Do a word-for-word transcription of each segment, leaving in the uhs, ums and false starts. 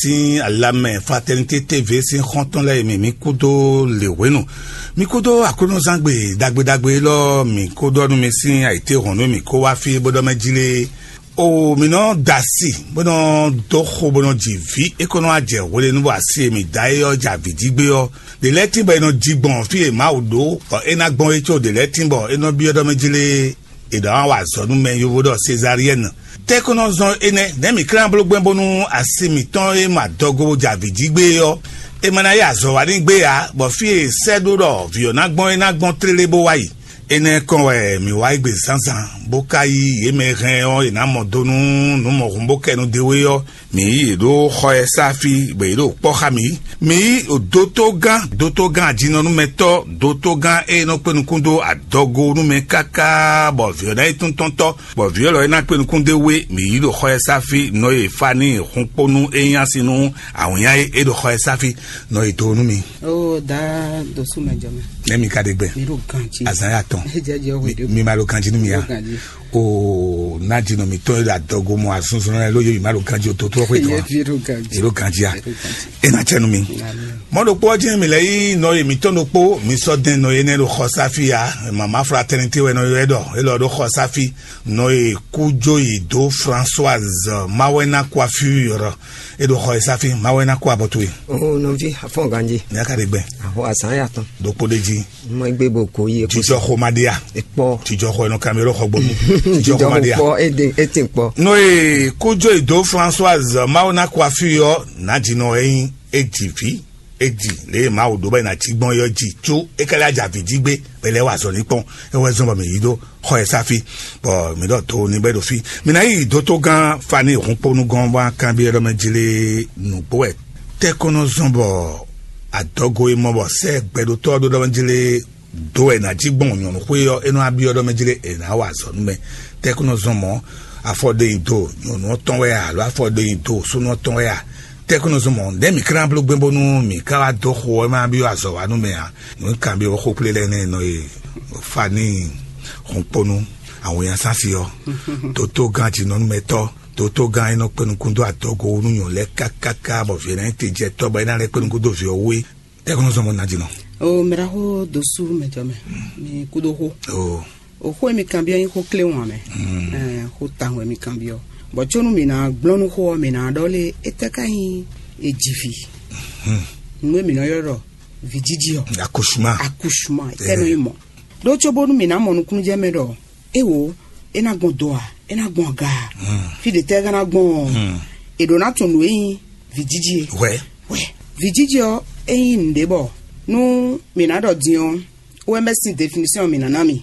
Sín alamɛ Fraternité T V sín xɔ́ntɔn lɛ́ɛ e mi mǐ kúdó lě hwenu. Mi kúdó Aklúnɔzán gbe ɖagbe ɖagbe élɔ́, mi kúdó nú mi sín ayǐtéhɔ̌nnu e mǐ kó wá fí bó ɖɔ mɛ jí lé. O mǐ nɔ da asi, bó nɔ dó xo, bó nɔ ji vǐ, é ko nɔ wá jɛ hwelenu bɔ asi e mǐ da é ɔ́ jɛ avǐ jí gbé ɔ́. Ɖě lɛ́ɛ tín bɔ è nɔ ji gbɔn fí e Mawu ɖó, bɔ é ná gbɔn é có ɖě lɛ́ɛ tín bɔ é nɔ byɔ́ ɖɔ mɛ jí lé. È ɖɔ wá wa azɔ̌ nú mɛ yovo ɖɔ Sezariɛ́ni. Tɛ́ kó nɔ zɔn énɛ́, nɛ̌ mǐ klán bló gbɛn bónú asi mǐtɔn e ma dɔgo bó jɛ avǐ jí gbé é ɔ́, è ma ná yí azɔ̌ wa n'i gbé ǎ, bɔ fí e è sɛ́ ɖó ɖɔ vǐ ɔ́ ná gbɔn é ná gbɔn tlélé bó wá yi? Énɛ́ kɔn wɛ mǐ wá yi gbe zǎnzǎn, bó ka yí yě mɛ e hɛn ɔ́, è nǎ mɔ do nú nǔ mɔ̌hun bó kɛ nu d'é wé ɔ́, mǐ yí yě ɖó xɔ ɛ sá fí, bɔ yě ɖo kpɔ́ xá mǐ. Mǐ yí dótógán, dótógán ajinɔnúmɛtɔ́, dótógán e nɔ kpé nukún dó adɔgo nú mɛ káká, bɔ vǐ ɔ́ ná yi tún tɔ́ntɔ́, bɔ vǐ ɔ́ lɔ e ná kpé nukún d'é wé, mǐ yí ɖo xɔ ɛ sá fí, nɔ e Faníi hun kpó nú é nyí asi nú awǐnnya e é ɖo xɔ ɛ sá fí, nɔ e do nú mi. Ó dá dosú mɛ jɔ mɛ. Nɛ́ mi ka ɖe gbɛ? Mi ɖo ganji. Azǎn ya tɔn. Jẹjẹ o. Mi ma ɖo ganji nú mi ya. Ɖo ganji. O ná jinɔ mǐtɔn e ɖo adɔgo mɔ azɔnzɔn lɛ́ɛ ló yé mi ma ɖo ganji o, tó tó xwe tɔn. Yé ɖo ganji. Yé ɖo ganji a? Yé ɖo ganji. E na cɛ nu mi. Mɔ ɖokpó ɔ́ jɛ́n mi lɛ́ yí nɔ e mǐtɔn ɖokpó, mi sɔ́ dɛn nɔ e nɛ́ ɖo xɔ sáfí ya. Mama Fraternité wɛ nɔ ylɔ́ ɛ ɖɔ, é lɔ ɖo xɔ sáfí. Nɔ e kú jó yi dó Françoise Mawɛna Coiffure, é ɖo xɔ e sáfí. Mawɛna kó abɔ towe. O nɔvi, afɔn ganji. Ní a ka ɖe gbɛ. Ahɔ azan ya tɔn. Ɖokpó ɖe jí. Mɔ egbe bo ko yi eko. Tijɔ xo ma ɖe ya. Ekpɔ. Tijɔ xo ɛnɔ kami ɖo xɔ gbɔnu. Tijɔ xo ma ɖe ya. Kpɔ ede ete kpɔ. Nɔ e kó jó yi dó Françoise Mawɛna Coiffure yɔ, ná jinɔ ɛ nyi, é ji vǐ. É ji lě e Mawu ɖó bɔ è nǎ cí gbɔn é ɔ́ ji, có é ka lɛ́ wá jɛ avǐ jí gbé, bɔ é lɛ́ wá azɔ̌ ní kpɔ́n. É wɛ zɔ́n bɔ mǐ yi ɖó xɔ ɛ sáfi, bɔ mǐ ɖɔ to ní bɔ é ɖo fí. Mǐ ná yi dótógán Fani Hunponu gɔ́n bó ná kanbyɔ́ ɖɔ mɛ jí lé nǔgbó wɛ. Tɛ́ kɔn nɔ zɔ́n bɔ adɔgo e mɔ bɔ sɛ́ gbɛɖótɔ́ ɔ́ ɖó ɖɔ mɛ jí lé dó wɛ è nǎ jí gbɔn nyɔ̌nu xwé ɔ́, é nɔ wá byɔ́ ɖɔ mɛ jí lé è nǎ wa azɔ̌ nú mɛ. Tɛ́ kɔn nɔ zɔ́n mɔ̌, afɔ ɖe nyi do nyɔ̌nu ɔ́ tɔn wɛ a, alo afɔ ɖe nyi do súnnu ɔ́ tɔn wɛ a? Tɛ́ kɔn nɔ zɔ́n mɔ̌, nɛ̌ mǐ ka ná bló gbɛn bónú mǐ ka wá dó xo ɔ́, é ma byɔ́ azɔ̌ wa nú mɛ ǎ? Nǔ kanbyɔ́ xó kplé lɛ́ɛ nɛ́ nɔ e Fani Hunponu awǐnnya sási ɔ́, tótógán jǐnɔnúmɛtɔ́, tótógán e nɔ kpé nukún dó adɔgo wú nú nyɔ̌nu lɛ́ɛ kákáká, bɔ vǐ ɔ́ ná nyí tejɛtɔ́, bɔ é ná lɛ́ kpé nukún dó vǐ ɔ́ wú é. Tɛ́ kɔn nɔ zɔ́n mɔ̌ ná jǐnɔ? O miraxo dosu mɛ jɔ mɛ, mi kúdó xó. O O xó e mi kanbyɔ́ nyí xó kléwɔn mɛ. Ɛɛ, xó tawun wɛ mi kanbyɔ́. Bɔ có nú mǐ ná gblɔ́ nú xó ɔ́, mǐ ná ɖɔ lé, étɛ́ ka nyí ejivi? Nǔ e mǐ nɔ ylɔ́ ɖɔ vǐjiji ɔ́. Akushuma. Akushuma, étɛ́ nɔ nyí mɔ̌? Ɖó cóbónú mǐ ná mɔ nukúnnú jɛ mɛ ɖɔ éwo, é ná gbɔn do a, é ná gbɔn aga a? Fí ɖě tɛ́ é ka ná gbɔn ɔ́, è ɖǒ ná tunwun nǔ e nyí vǐjiji é. Wɛ. Wɛ. Vǐjiji ɔ́, é nyí nǔɖé bɔ nú mǐ ná ɖɔ din ɔ́, O M S sín définition mǐ ná ná mi.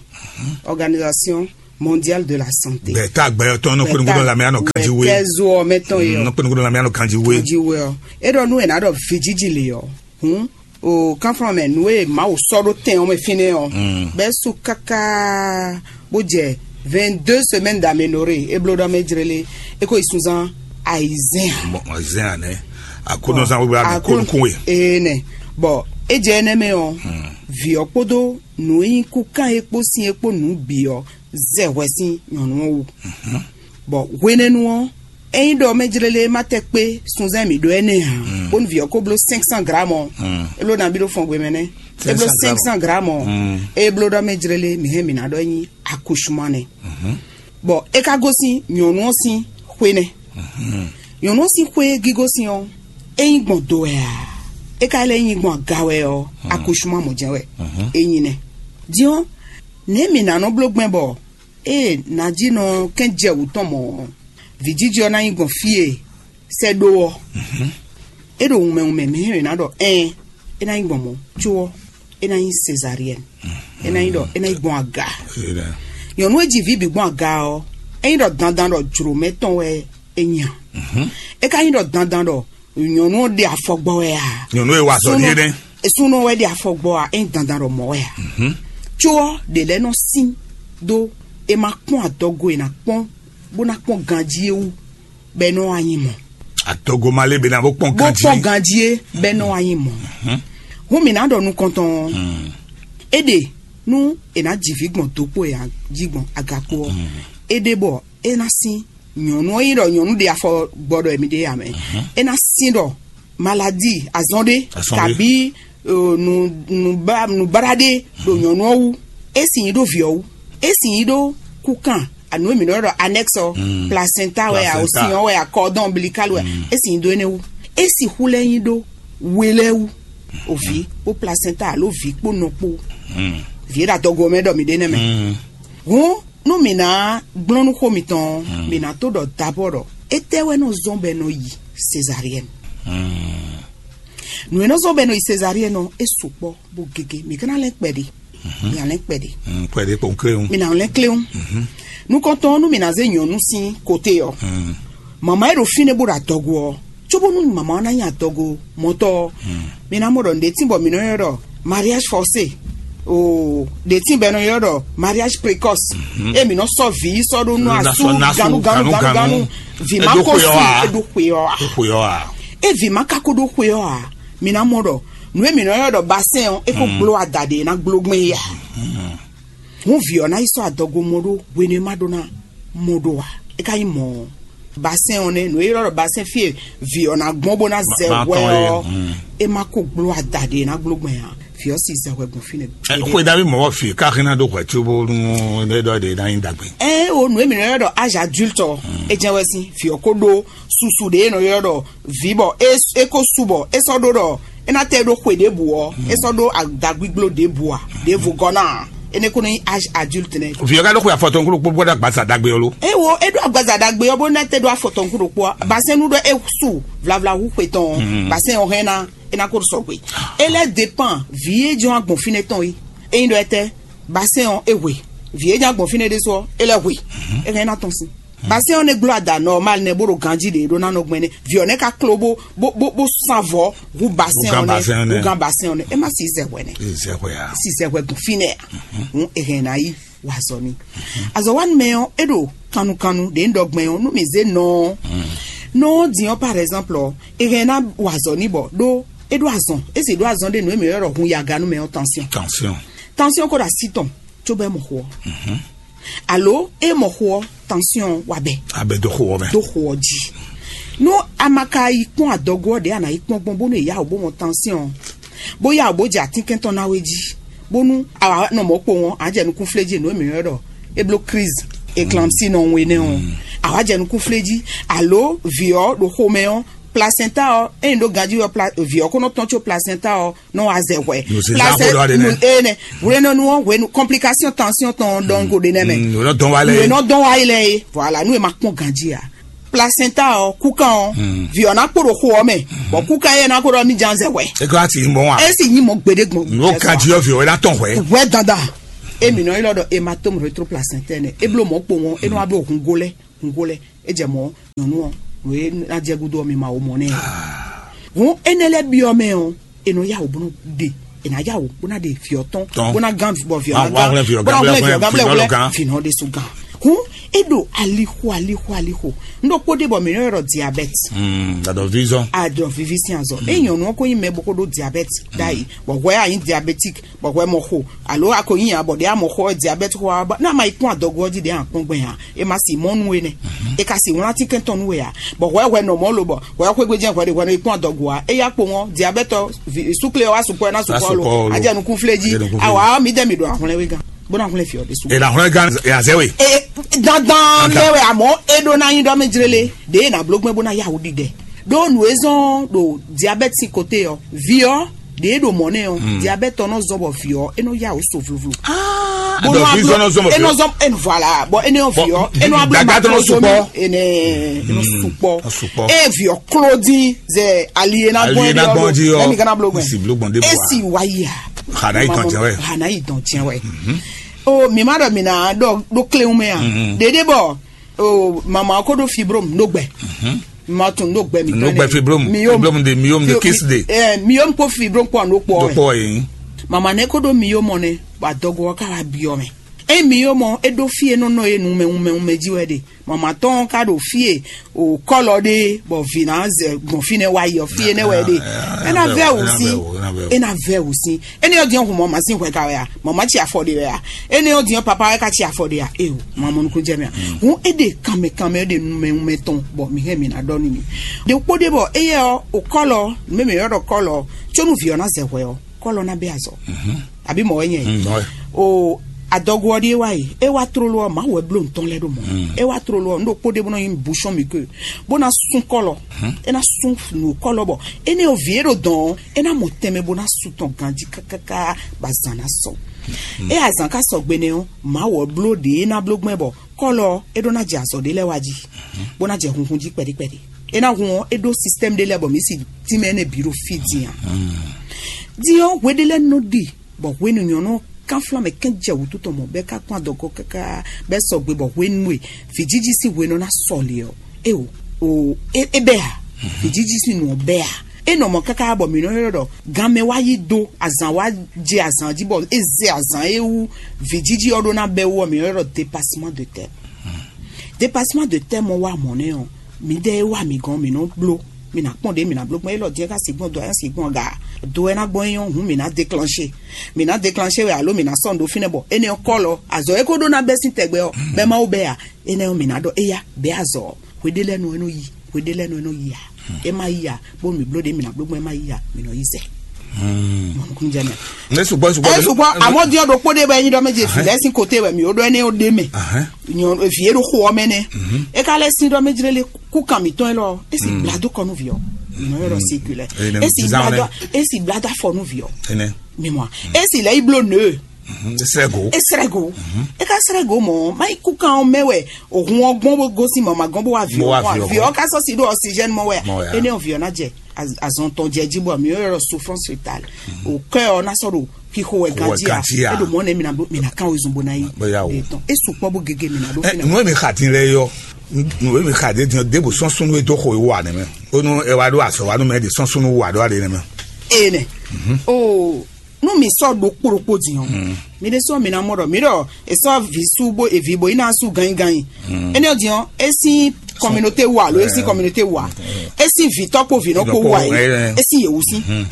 Organisation Mondiale de la Santé. Bɛɛ tá gbɛ ɔ́ tɔn nɔ kpɛnukpɛnu lamɛ anɔ kanji we. Kɛzo ɔmɛ tɔn yɔ. Nɔ kpɛnukpɛnu lamɛ anɔ kanji we. Kanji we ɔ. E ɖɔ nú ɛ ná ɖɔ vijiji le ɔ. Hun. O kanflɔn mɛ nú e Mawu sɔ́ ɖó tɛn ɔmɛ fínɛ́ ɔ. Bɛ́ su káká bó jɛ vingt-deux semaines d'aménorrhée, e bló ɖɔ mɛ jlélé, e ko yi sunzan ayizɛn. Bon, ayizɛn anɛ. Aklúnɔzán wíwá ɖo kónukún we. Ee nɛ. Bɔ e jɛ énɛ́ mɛ ɔ, vǐ ɔ́ kpódó nǔ e nyí kúkán é kpó sin é kpó nǔ bǐ ɔ́ zɛ hwɛ sín nyɔ̌nu ɔ́ wú. Bɔ hwenɛ́nu ɔ́, ényí ɖɔ mɛ jlélé ma tɛ kpé sunzán mǐ ɖó ɛnɛ ǎ, bónú vǐ ɔ́ ko bló cinq cents grammes ɔ́, é bló nabí ɖó fɔngbe mɛ nɛ́. É bló cinq cents grammes ɔ́, é bló ɖɔ mɛ jlélé mǐ hɛn mǐ ná ɖɔ é nyí accouchement nɛ́. Bɔ é ka gosín nyɔ̌nu ɔ́ sín xwé nɛ́. Nyɔ̌nu ɔ́ sín xwé e gígosín ɔ́, é nyí gbɔn do wɛ a? É ka lɛ́ nyí gbɔn aga wɛ ɔ́, accouchement mɔ̌ jɛ́n wɛ é nyí nɛ́. Din ɔ́, nɛ̌ mǐ ná nɔ bló gbɛn bɔ ée nǎjínɔ kɛn jɛ wǔ tɔn mɔ̌ ɔ́, vǐjiji ɔ́ ná nyí gbɔn fí e sɛ́ ɖó ɔ́? É ɖo wunmɛ wunmɛ mǐ hɛn mǐ ná ɖɔ ɛɛn, é ná nyí gbɔn mɔ̌, có ɔ́, é ná nyí Césarienne. É ná nyí ɖɔ é ná nyí gbɔn aga. Nyɔ̌nu e ji vǐ bǐ gbɔn aga ɔ́, é nyí ɖɔ dandan ɖɔ jlǒ mɛ tɔn wɛ é nya. É ka nyí ɖɔ dandan ɖɔ nyɔ̌nu ɔ́ ɖe afɔ gbɔ wɛ a? Nyɔ̌nu e wa azɔ̌ n'i é nɛ́. Súnnu ɔ́ wɛ ɖe afɔ gbɔ a? É nyí dandan ɖɔ mɔ̌ wɛ a? Có ɔ́, ɖě lɛ́ɛ nɔ sín dó é ma kpɔ́n adɔgo e ná kpɔ́n bó ná kpɔ́n ganjí é wú, bɔ é nɔ wá nyí mɔ̌. Adɔgo ma lé bɛ ná bó kpɔ́n Bó ganjí. Kpɔ́n ganjí é, bɔ é nɔ wá nyí mɔ̌. Hún mǐ ná ɖɔ nukɔntɔn ɔ́, é ɖe nú è nǎ ji vǐ gbɔn dǒkpó e a jí gbɔn agakpó ɔ́, é ɖe bɔ é ná sín Nyɔ̌nu ɔ́ nyí ɖɔ nyɔ̌nu ɖe afɔ gbɔ ɖɔ émí ɖe ǎ mɛ. É ná sín ɖɔ maladi azɔn ɖé, azɔn ɖé, kabi nǔbáɖá ɖé ɖo nyɔ̌nu ɔ́ wú. É sì nyí ɖó vǐ ɔ́ wú. É sì nyí ɖó kúkan, anu e mǐ nɔ ɖɔ anɛ́ksɔ, placenta wɛ a, osin ɔ́ wɛ a, kɔdɔn ombilikali wɛ. É sì nyí ɖó énɛ́ wú. É sixú lɛ́ nyí ɖó we lɛ́ɛ wú, o vǐ kpó placenta alo vǐ kpó nɔ kpó. Vǐ e ɖo adɔgo ɔ́ mɛ ɖɔ mǐ ɖe nɛ́ mɛ. Hǔn nú mǐ ná gblɔ́n nú xó mitɔn ɔ́, mǐ ná tó ɖɔ dabɔ́ ɖɔ étɛ́ wɛ nɔ zɔ́n bɔ è nɔ yi Sezariɛ́nu. Nǔ e nɔ zɔ́n bɔ è nɔ yi Sezariɛ́nu ɔ́, é sukpɔ́ bó gégé. Mǐ ka ná lɛ́n kpɛɖé. Mǐ ná lɛ́n kpɛɖé. Kpɛɖé kpɔn kléwún. Mǐ ná lɛ́n kléwún. Nukɔntɔn ɔ́, nú mǐ ná zé nyɔ̌nu sín kote ɔ́, mama e ɖo fínɛ́ bó ɖo adɔgo ɔ́, cóbónú mama ɔ́ ná nyí adɔgo mɔtɔ́ ɔ́, mi ná mɔ ɖɔ nǔɖé tín bɔ mǐ nɔ ylɔ́ ɖɔ mariage forcé, o ɖě tín bɔ è nɔ ylɔ́ ɖɔ mariage précoce. E mǐ nɔ sɔ́ vǐ yi sɔ́ ɖó nú asú ganu ganu ganu ganu. Vǐ ma ko su, e ɖó xwe ɔ́ a? E vǐ ma ka ko ɖó xwe ɔ́ a? Mi ná mɔ ɖɔ nǔ e mǐ nɔ ylɔ́ ɖɔ basɛn ɔ́, é ko gbló ada ɖě ná gbló gbɛn yá. Hǔn vǐ ɔ́ ná yi sɔ́ adɔgo mɔ ɖó hwenu e ma ɖó ná mɔ ɖó ǎ. É ka nyí mɔ̌ ɔ́, basɛn ɔ́ nɛ́, nǔ e ylɔ́ ɖɔ basɛn fí e vǐ ɔ́ ná gbɔn bó ná zɛ hwɛ ɔ́, é ma ko gbló ada ɖě ná gbló gbɛn ǎ. Vǐ ɔ́ si zɛ hwɛ gbɔn fínɛ́. Xwe David mɔ̌ wɔ fi ká hɛn ná ɖó hwɛ cóbónú é ɖɔ ɖě ná nyí ɖagbe. Ɛ o, nǔ e mǐ nɔ ylɔ́ ɖɔ âge adulte ɔ́, é jɛ́n wɛ sín vǐ ɔ́ ko ɖó susu ɖě e nɔ ylɔ́ ɖɔ vǐ bɔ é é ko su bɔ é sɔ́ ɖó ɖɔ é ná tɛ ɖó xwe ɖěbǔ ɔ́, é sɔ́ ɖó adǎgbígbló ɖěbǔ ǎ, ɖěvo gɔ́ ná ǎ. Énɛ́ ko nɔ nyí âge adulte nɛ́. Vǐ ɔ́ ka ɖó xwe afɔtɔn kúɖokpó bó ɖó agbaza ɖagbe ɔ́ lo? É wo é ɖó agbaza ɖagbe ɔ́ bó ná tɛ ɖó afɔtɔn kúɖokpó ǎ. Basɛn nú ɖɔ é su vlavla hú xwe tɔn ɔ́, basɛn ɔ́ hɛn ná é ná ko sɔgbe. É lɛ́ dépend vǐ e jɔ́n agbɔn fínɛ́ tɔn é. Ényí ɖɔ étɛ́ basɛn ɔ́ é hwe, vǐ e jɔ́n agbɔn fínɛ́ ɖésú ɔ́ é lɛ́ hwe, é hɛn ná tɔn sín. Basɛn ɔ́ nɛ́ gbló ada normal nɛ́ bó ɖo ganjí ɖě ɖó ná nɔ gbɛn nɛ́. Vǐ ɔ́ nɛ́ ka kló bó bó bó bó san vɔ̌ hú basɛn ɔ́ nɛ́, hú gán basɛn ɔ́ nɛ́. É má si zɛ hwɛ nɛ́. Zɛ hwɛ a? Si zɛ hwɛ gbɔn fínɛ́ a? Hǔn è hɛn ná yi wa azɔ̌ n'i. Azɔ̌wanumɛ ɔ́, é ɖo kannukannu ɖě un ɖɔ gbɛn ɔ́, nú mǐ zé nɔ ɔ́, nɔ ɔ́ din ɔ́, par exemple ɔ́, è hɛn ná wa azɔ̌ n'i bɔ ɖó é ɖó azɔn, é sì ɖó azɔn ɖé nǔ e mǐ ylɔ́ ɖɔ hun yaganú mɛ ɔ́, tension. Tension. Tension ko ɖo así tɔn cóbɔ é mɔ xo ɔ́. Alo é mɔ xo ɔ́, tension wa bɛ. Abɛ dó xo ɔ́ mɛ. Dó xo ɔ́ jí. Nú a ma ka yi kpɔ́n adɔgo ɔ́ ɖě a nǎ yi kpɔ́n gbɔn bónú è yá wǔ bó mɔ tension, bó yá wǔ bó jɛ atínkɛn tɔn ná wé jí, bónú a wǎ nɔ mɔ̌ kpowun ɔ́, a jɛ nukún flé jí nǔ e mǐ ylɔ́ ɖɔ é bló crise éclampsie nɔ we nɛ́ ɔ́, a wǎ jɛ nukún flé jí, alo vǐ ɔ́ ɖo xomɛ ɔ́, placenta ɔ́, ényí ɖó ganjí ɔ́, pla- vǐ ɔ́ ko nɔ tɔn có placenta ɔ́ nɔ wá zɛ hwɛ. Nǔsísá xó ɖɔ ɖe nɛ. Enɛ hwenɛnu ɔ́ hwenu complication tension tɔn dɔngo ɖe nɛ mɛ. Nǔ nɔ dɔn wá lɛ. Nǔ nɔ dɔn wá yi lɛ ye. Voilà, nú e ma kpɔn ganjí a, placenta ɔ́, kúkan ɔ́, vǐ ɔ́ ná kpo ɖo xo ɔ́ mɛ, bɔ kúkan yɛ ná ko ɖɔ mí jan zɛ hwɛ. E ka ti mɔ wa. E sì nyi mɔ gbeɖe gbɔn. N'o ganjí ɔ́ vǐ ɔ́ ná tɔn hwɛ. Hwɛ dandan. Emi nɔ ylɔ́ ɖɔ hématome rétroplacentaire nɛ. E bló mɔ̌ kpowun ɔ́, e nɔ wá bló hungó lɛ, hungó lɛ. E jɛ mɔ̌ nyɔ̌nu ɔ́, nǔ e ná jɛ gúdo ɔ́, mi ma wo mɔ̌ nɛ. Hǔn énɛ́ lɛ́ɛ byɔ́ mɛ ɔ́, è nɔ yá wǔ bó nɔ ɖe, è nǎ yá wǔ bó ná ɖe vǐ ɔ́ tɔn, bó ná gán bɔ vǐ ɔ́ ná gán, bó ná hwlɛ́n vǐ ɔ́ gán, vǐ ɔ́ ná hwlɛ́n vǐ ɔ́ gán, vǐ nɔ ɖésú gán. Hǔn é ɖo alixo alixo alixo. Un ɖokpó ɖe bɔ mǐ nɔ ylɔ́ ɖɔ diabɛ́ti. Adɔ vizɔn. Adɔ vivi sín azɔ. Ényí nyɔ̌nu ɔ́ ko nyí mɛ bó ko ɖó diabɛ́ti ɖ'ayǐ, bɔ hwɛ a nyǐ diabétique, bɔ hwɛ mɔ xo, alo a ko nyí ǎ, bɔ ɖě a mɔ xo ɔ́ diabɛ́ti xo ɔ́, bɔ ná ma yi kpɔ́n adɔgo ɔ́ jí ɖě a kpɔ́n gbɛn ǎ. E ma si mɔ nú we nɛ. E ka si wlán tínkɛn tɔn nú we ǎ. Bɔ hwɛ hwɛ nɔ mɔ lo bɔ hwɛ xwé gbé jɛ́n hwɛ ɖe hwɛ nɔ yi kpɔ́n adɔgo ǎ. E yá kpo ŋɔ́ diabɛ́ti ɔ́, súkle ɔ́ wá sukpɔ́ ɛ ná sukpɔ́ lo. A jɛ nukún flé jí. Awa mi dɛ mi ɖo ahwlɛ́n we gán. Bó ná hwlɛ́n fi ɔ́ ɖésú. E na hwlɛ́n gán e azɛ we. Dandan lé we, àmọ́ é ɖó ná nyí ɖɔ mɛ jlélé ɖě e nǎ bló gbɛn bó ná yá wǔ ɖiɖɛ. Ɖó nǔ e zɔ́n ɖo diabɛ́ti sín kote ɔ́, vǐ ɔ́ ɖě ɖo mɔ̌ nɛ́ ɔ́, diabɛ́ti ɔ́ nɔ zɔ́n bɔ vǐ ɔ́ é nɔ yá wǔ so vluvlu. Bó nɔ vǐ zɔ́n nɔ zɔ́n bɔ é nɔ zɔ́n é voilà, bɔ é nɔ vǐ ɔ́ é nɔ ablu dagba tɔn nɔ sukpɔ. Ene é nɔ sukpɔ. Sukpɔ. É vǐ ɔ́ kló dín zɛ ali e ná gbɔn é ɖɔ. Ɛmi gana blo gbɛn. Si blo gbɔn de bɔ. Esi wa yi a. Hana yi dɔn jɛ wɛ. Hana yi dɔn jɛ wɛ. O mi ma ɖɔ mi na ɖɔ ɖo kléwun mɛ a. Ɖeɖe bɔ o mama ko ɖo fibrome ɖo gbɛ. Ma tun ɖo gbɛ mi. Ɖo gbɛ fibrome. Fibrome de miom de kis de. Ɛ miom ko fibrome kpɔ no kpɔ. Do kpɔ yi. Mama ne ko ɖo miom mɔ ne, ba dɔgɔ ka wa biɔ mɛ. Emi yó mɔ, é ɖó fí e nɔ nɔ e numɛ numɛ numɛ jí wɛ ɖe. Mama tɔn ka ɖo fí e o kɔlɔ ɖe, bɔ vǐ ná zɛ gbɔn fínɛ́ wá yi ɔ, fí énɛ́ wɛ ɖe. É ná vɛ wǔ sín. É ná vɛ wǔ sín. Énɛ́ ɔ́ din ɔ́, hun mɔ mǎ sín hwɛ ka wɛ a? Mama ci afɔ ɖe wɛ a? Énɛ́ ɔ́ din ɔ́, papa wɛ ka ci afɔ ɖe a? Eo, mama nukúnjɛ mɛ a? Hun é ɖe kanmɛ kanmɛ, é ɖe numɛ numɛ tɔn, bɔ mi hɛn mi ná ɖɔ nú mi. Ɖe kpó ɖe bɔ éyɛ́ ɔ́, o kɔlɔ, mɛ mɛ yɔ́ ɖɔ kɔlɔ, có nú vǐ ɔ́ ná zɛ hwɛ ɔ́, kɔlɔ ná bɛ azɔ. Abí mɔ̌ wɛ nyɛ? O adɔgo ɔ́ ɖíe wá yi, é wá tlóló ɔ́, Mawu wɛ bló nǔ tɔn lɛ́ɛ ɖó mɔ̌. É wá tlóló ɔ́, nǔ ɖokpó ɖé bó nɔ nyí bouchon mi ke, bó ná sún kɔlɔ. É ná sún nǔ kɔlɔ bɔ énɛ́ ɔ́, vǐ e ɖo dɔn ɔ́, é ná mɔ tɛnmɛ bó ná su tɔn ganjí kákáká, bɔ azǎn ná sɔ. É azǎn ka sɔgbe nɛ́ ɔ́, Mawu ɔ́ bló ɖě é ná bló gbɛn bɔ kɔlɔ ɔ́, é ɖó ná jɛ azɔ̌ ɖé lɛ́ɛ wá jí, bó ná jɛ hunhun jí kpɛɖíkpɛɖí. É ná hun ɔ́, é ɖó sistɛ́mu ɖé lɛ́ɛ bɔ mǐ si tínmɛ énɛ́ bǐ ɖo fí din a. Din ɔ́, hwe ɖé lɛ́ɛ nɔ ɖi bɔ hwenu nyɔ̌nu ɔ́ kánflán mɛ kɛ́n jɛ wǔtu tɔn mɔ, bɔ é ka kpɔ́n adɔgo káká, bɔ é sɔgbe bɔ hwenu e vǐjiji sín hwe nɔ ná sɔle ɔ́, é o o é é bɛ́ a? Vǐjiji sín nǔ ɔ́ bɛ́ a? É nɔ mɔ káká bɔ mǐ nɔ ylɔ́ ɖɔ ganmɛ wá yí dó, azǎn wá jɛ azǎn jí bɔ é zɛ azǎn e wú vǐjiji ɔ́ ɖó ná bɛ́ wú ɔ́, mǐ nɔ ylɔ́ ɖɔ dépasement de terme. Dépasement de terme ɔ́ wá mɔ̌ nɛ́ ɔ́, mǐdɛɛ e wá mǐ gɔ́n mǐ nɔ bló, mǐ ná kpɔ́n ɖě mǐ ná bló gbɔn, élɔ́ din é ka sixú gbɔn do ayán sixú gbɔn ga. Do ɛ ná gbɔn é nyɔ́ hǔn mǐ ná déclenché. Mǐ ná déclenché wɛ alo mǐ ná sɔ́ nǔ ɖó fínɛ́ bɔ énɛ́ ɔ́ kɔ́lɔ azɔ̌ e ko ɖó ná bɛ́ sín tɛgbɛ ɔ́, bɛ́ Mawu bɛ́ a? Énɛ́ ɔ́ mǐ ná ɖɔ éyá bɛ́ azɔ̌ ɔ́, hweɖé lɛ́ɛ nɔ é nɔ yi, hweɖé lɛ́ɛ nɔ é nɔ yi a? É má yi a? Bónú mǐ bló ɖě mǐ ná bló gbɔn é má yi a? Mǐ nɔ yí zɛ. Mɔnukúnjɛmɛ. Ne sugbɔ sugbɔ. Ɛ sugbɔ amɔdiɔ ɖokpó ɖe bɛ nyi ɖɔ mɛ dze fi lɛ sin kote wɛ mi o ɖɔ ɛnɛ o ɖe mɛ. Nyɔ vi e ɖo xo ɔmɛ nɛ. E ka lɛ sin ɖɔ mɛ dzre le ku kan mi tɔn lɔ. Esi blado kɔnu vi ɔ. Nyɔ yɔrɔ sikule. Esi blado esi blado afɔnu vi ɔ. Mi mɔ esi lɛ iblo ne. Esrɛ go. Esrɛ go. E ka srɛ go mɔ ma yi ku kan ɔmɛ wɛ. Ohun ɔgbɔn bo gosi mama gɔn bo wa vi ɔ vi ɔ ka sɔ si ɖo oxygène mɔ wɛ. Ene ɔ vi ɔ na jɛ azɔn tɔn jɛ ji bɔ mi yɔrɔ souffrance fetale. O kɛ ɔ na sɔ ɖo xixo wɛ ganji a. E ɖo mɔ ne mina do mina kan o zun bo na yi. Etɔn e sukpɔ bo gege mina do fina. Nue mi xa din lɛ yɔ. Nue mi xa de din de bo sɔn sunu e do xo e wa ne mɛ. Onu e wa do asɔ wa nu mɛ de sɔn sunu wa do ale ne mɛ. Ene. O nu mi sɔ do kpokpo din ɔ. Mi de sɔ mina mɔ dɔ mi dɔ e sɔ vi su bo evi bo ina su ganyi ganyi. Ene ɔ din ɔ e sin communauté wa alo e sin communauté wa. E sin vitɔ kpo vinɔ kpo wa yi. E sin yewu sin.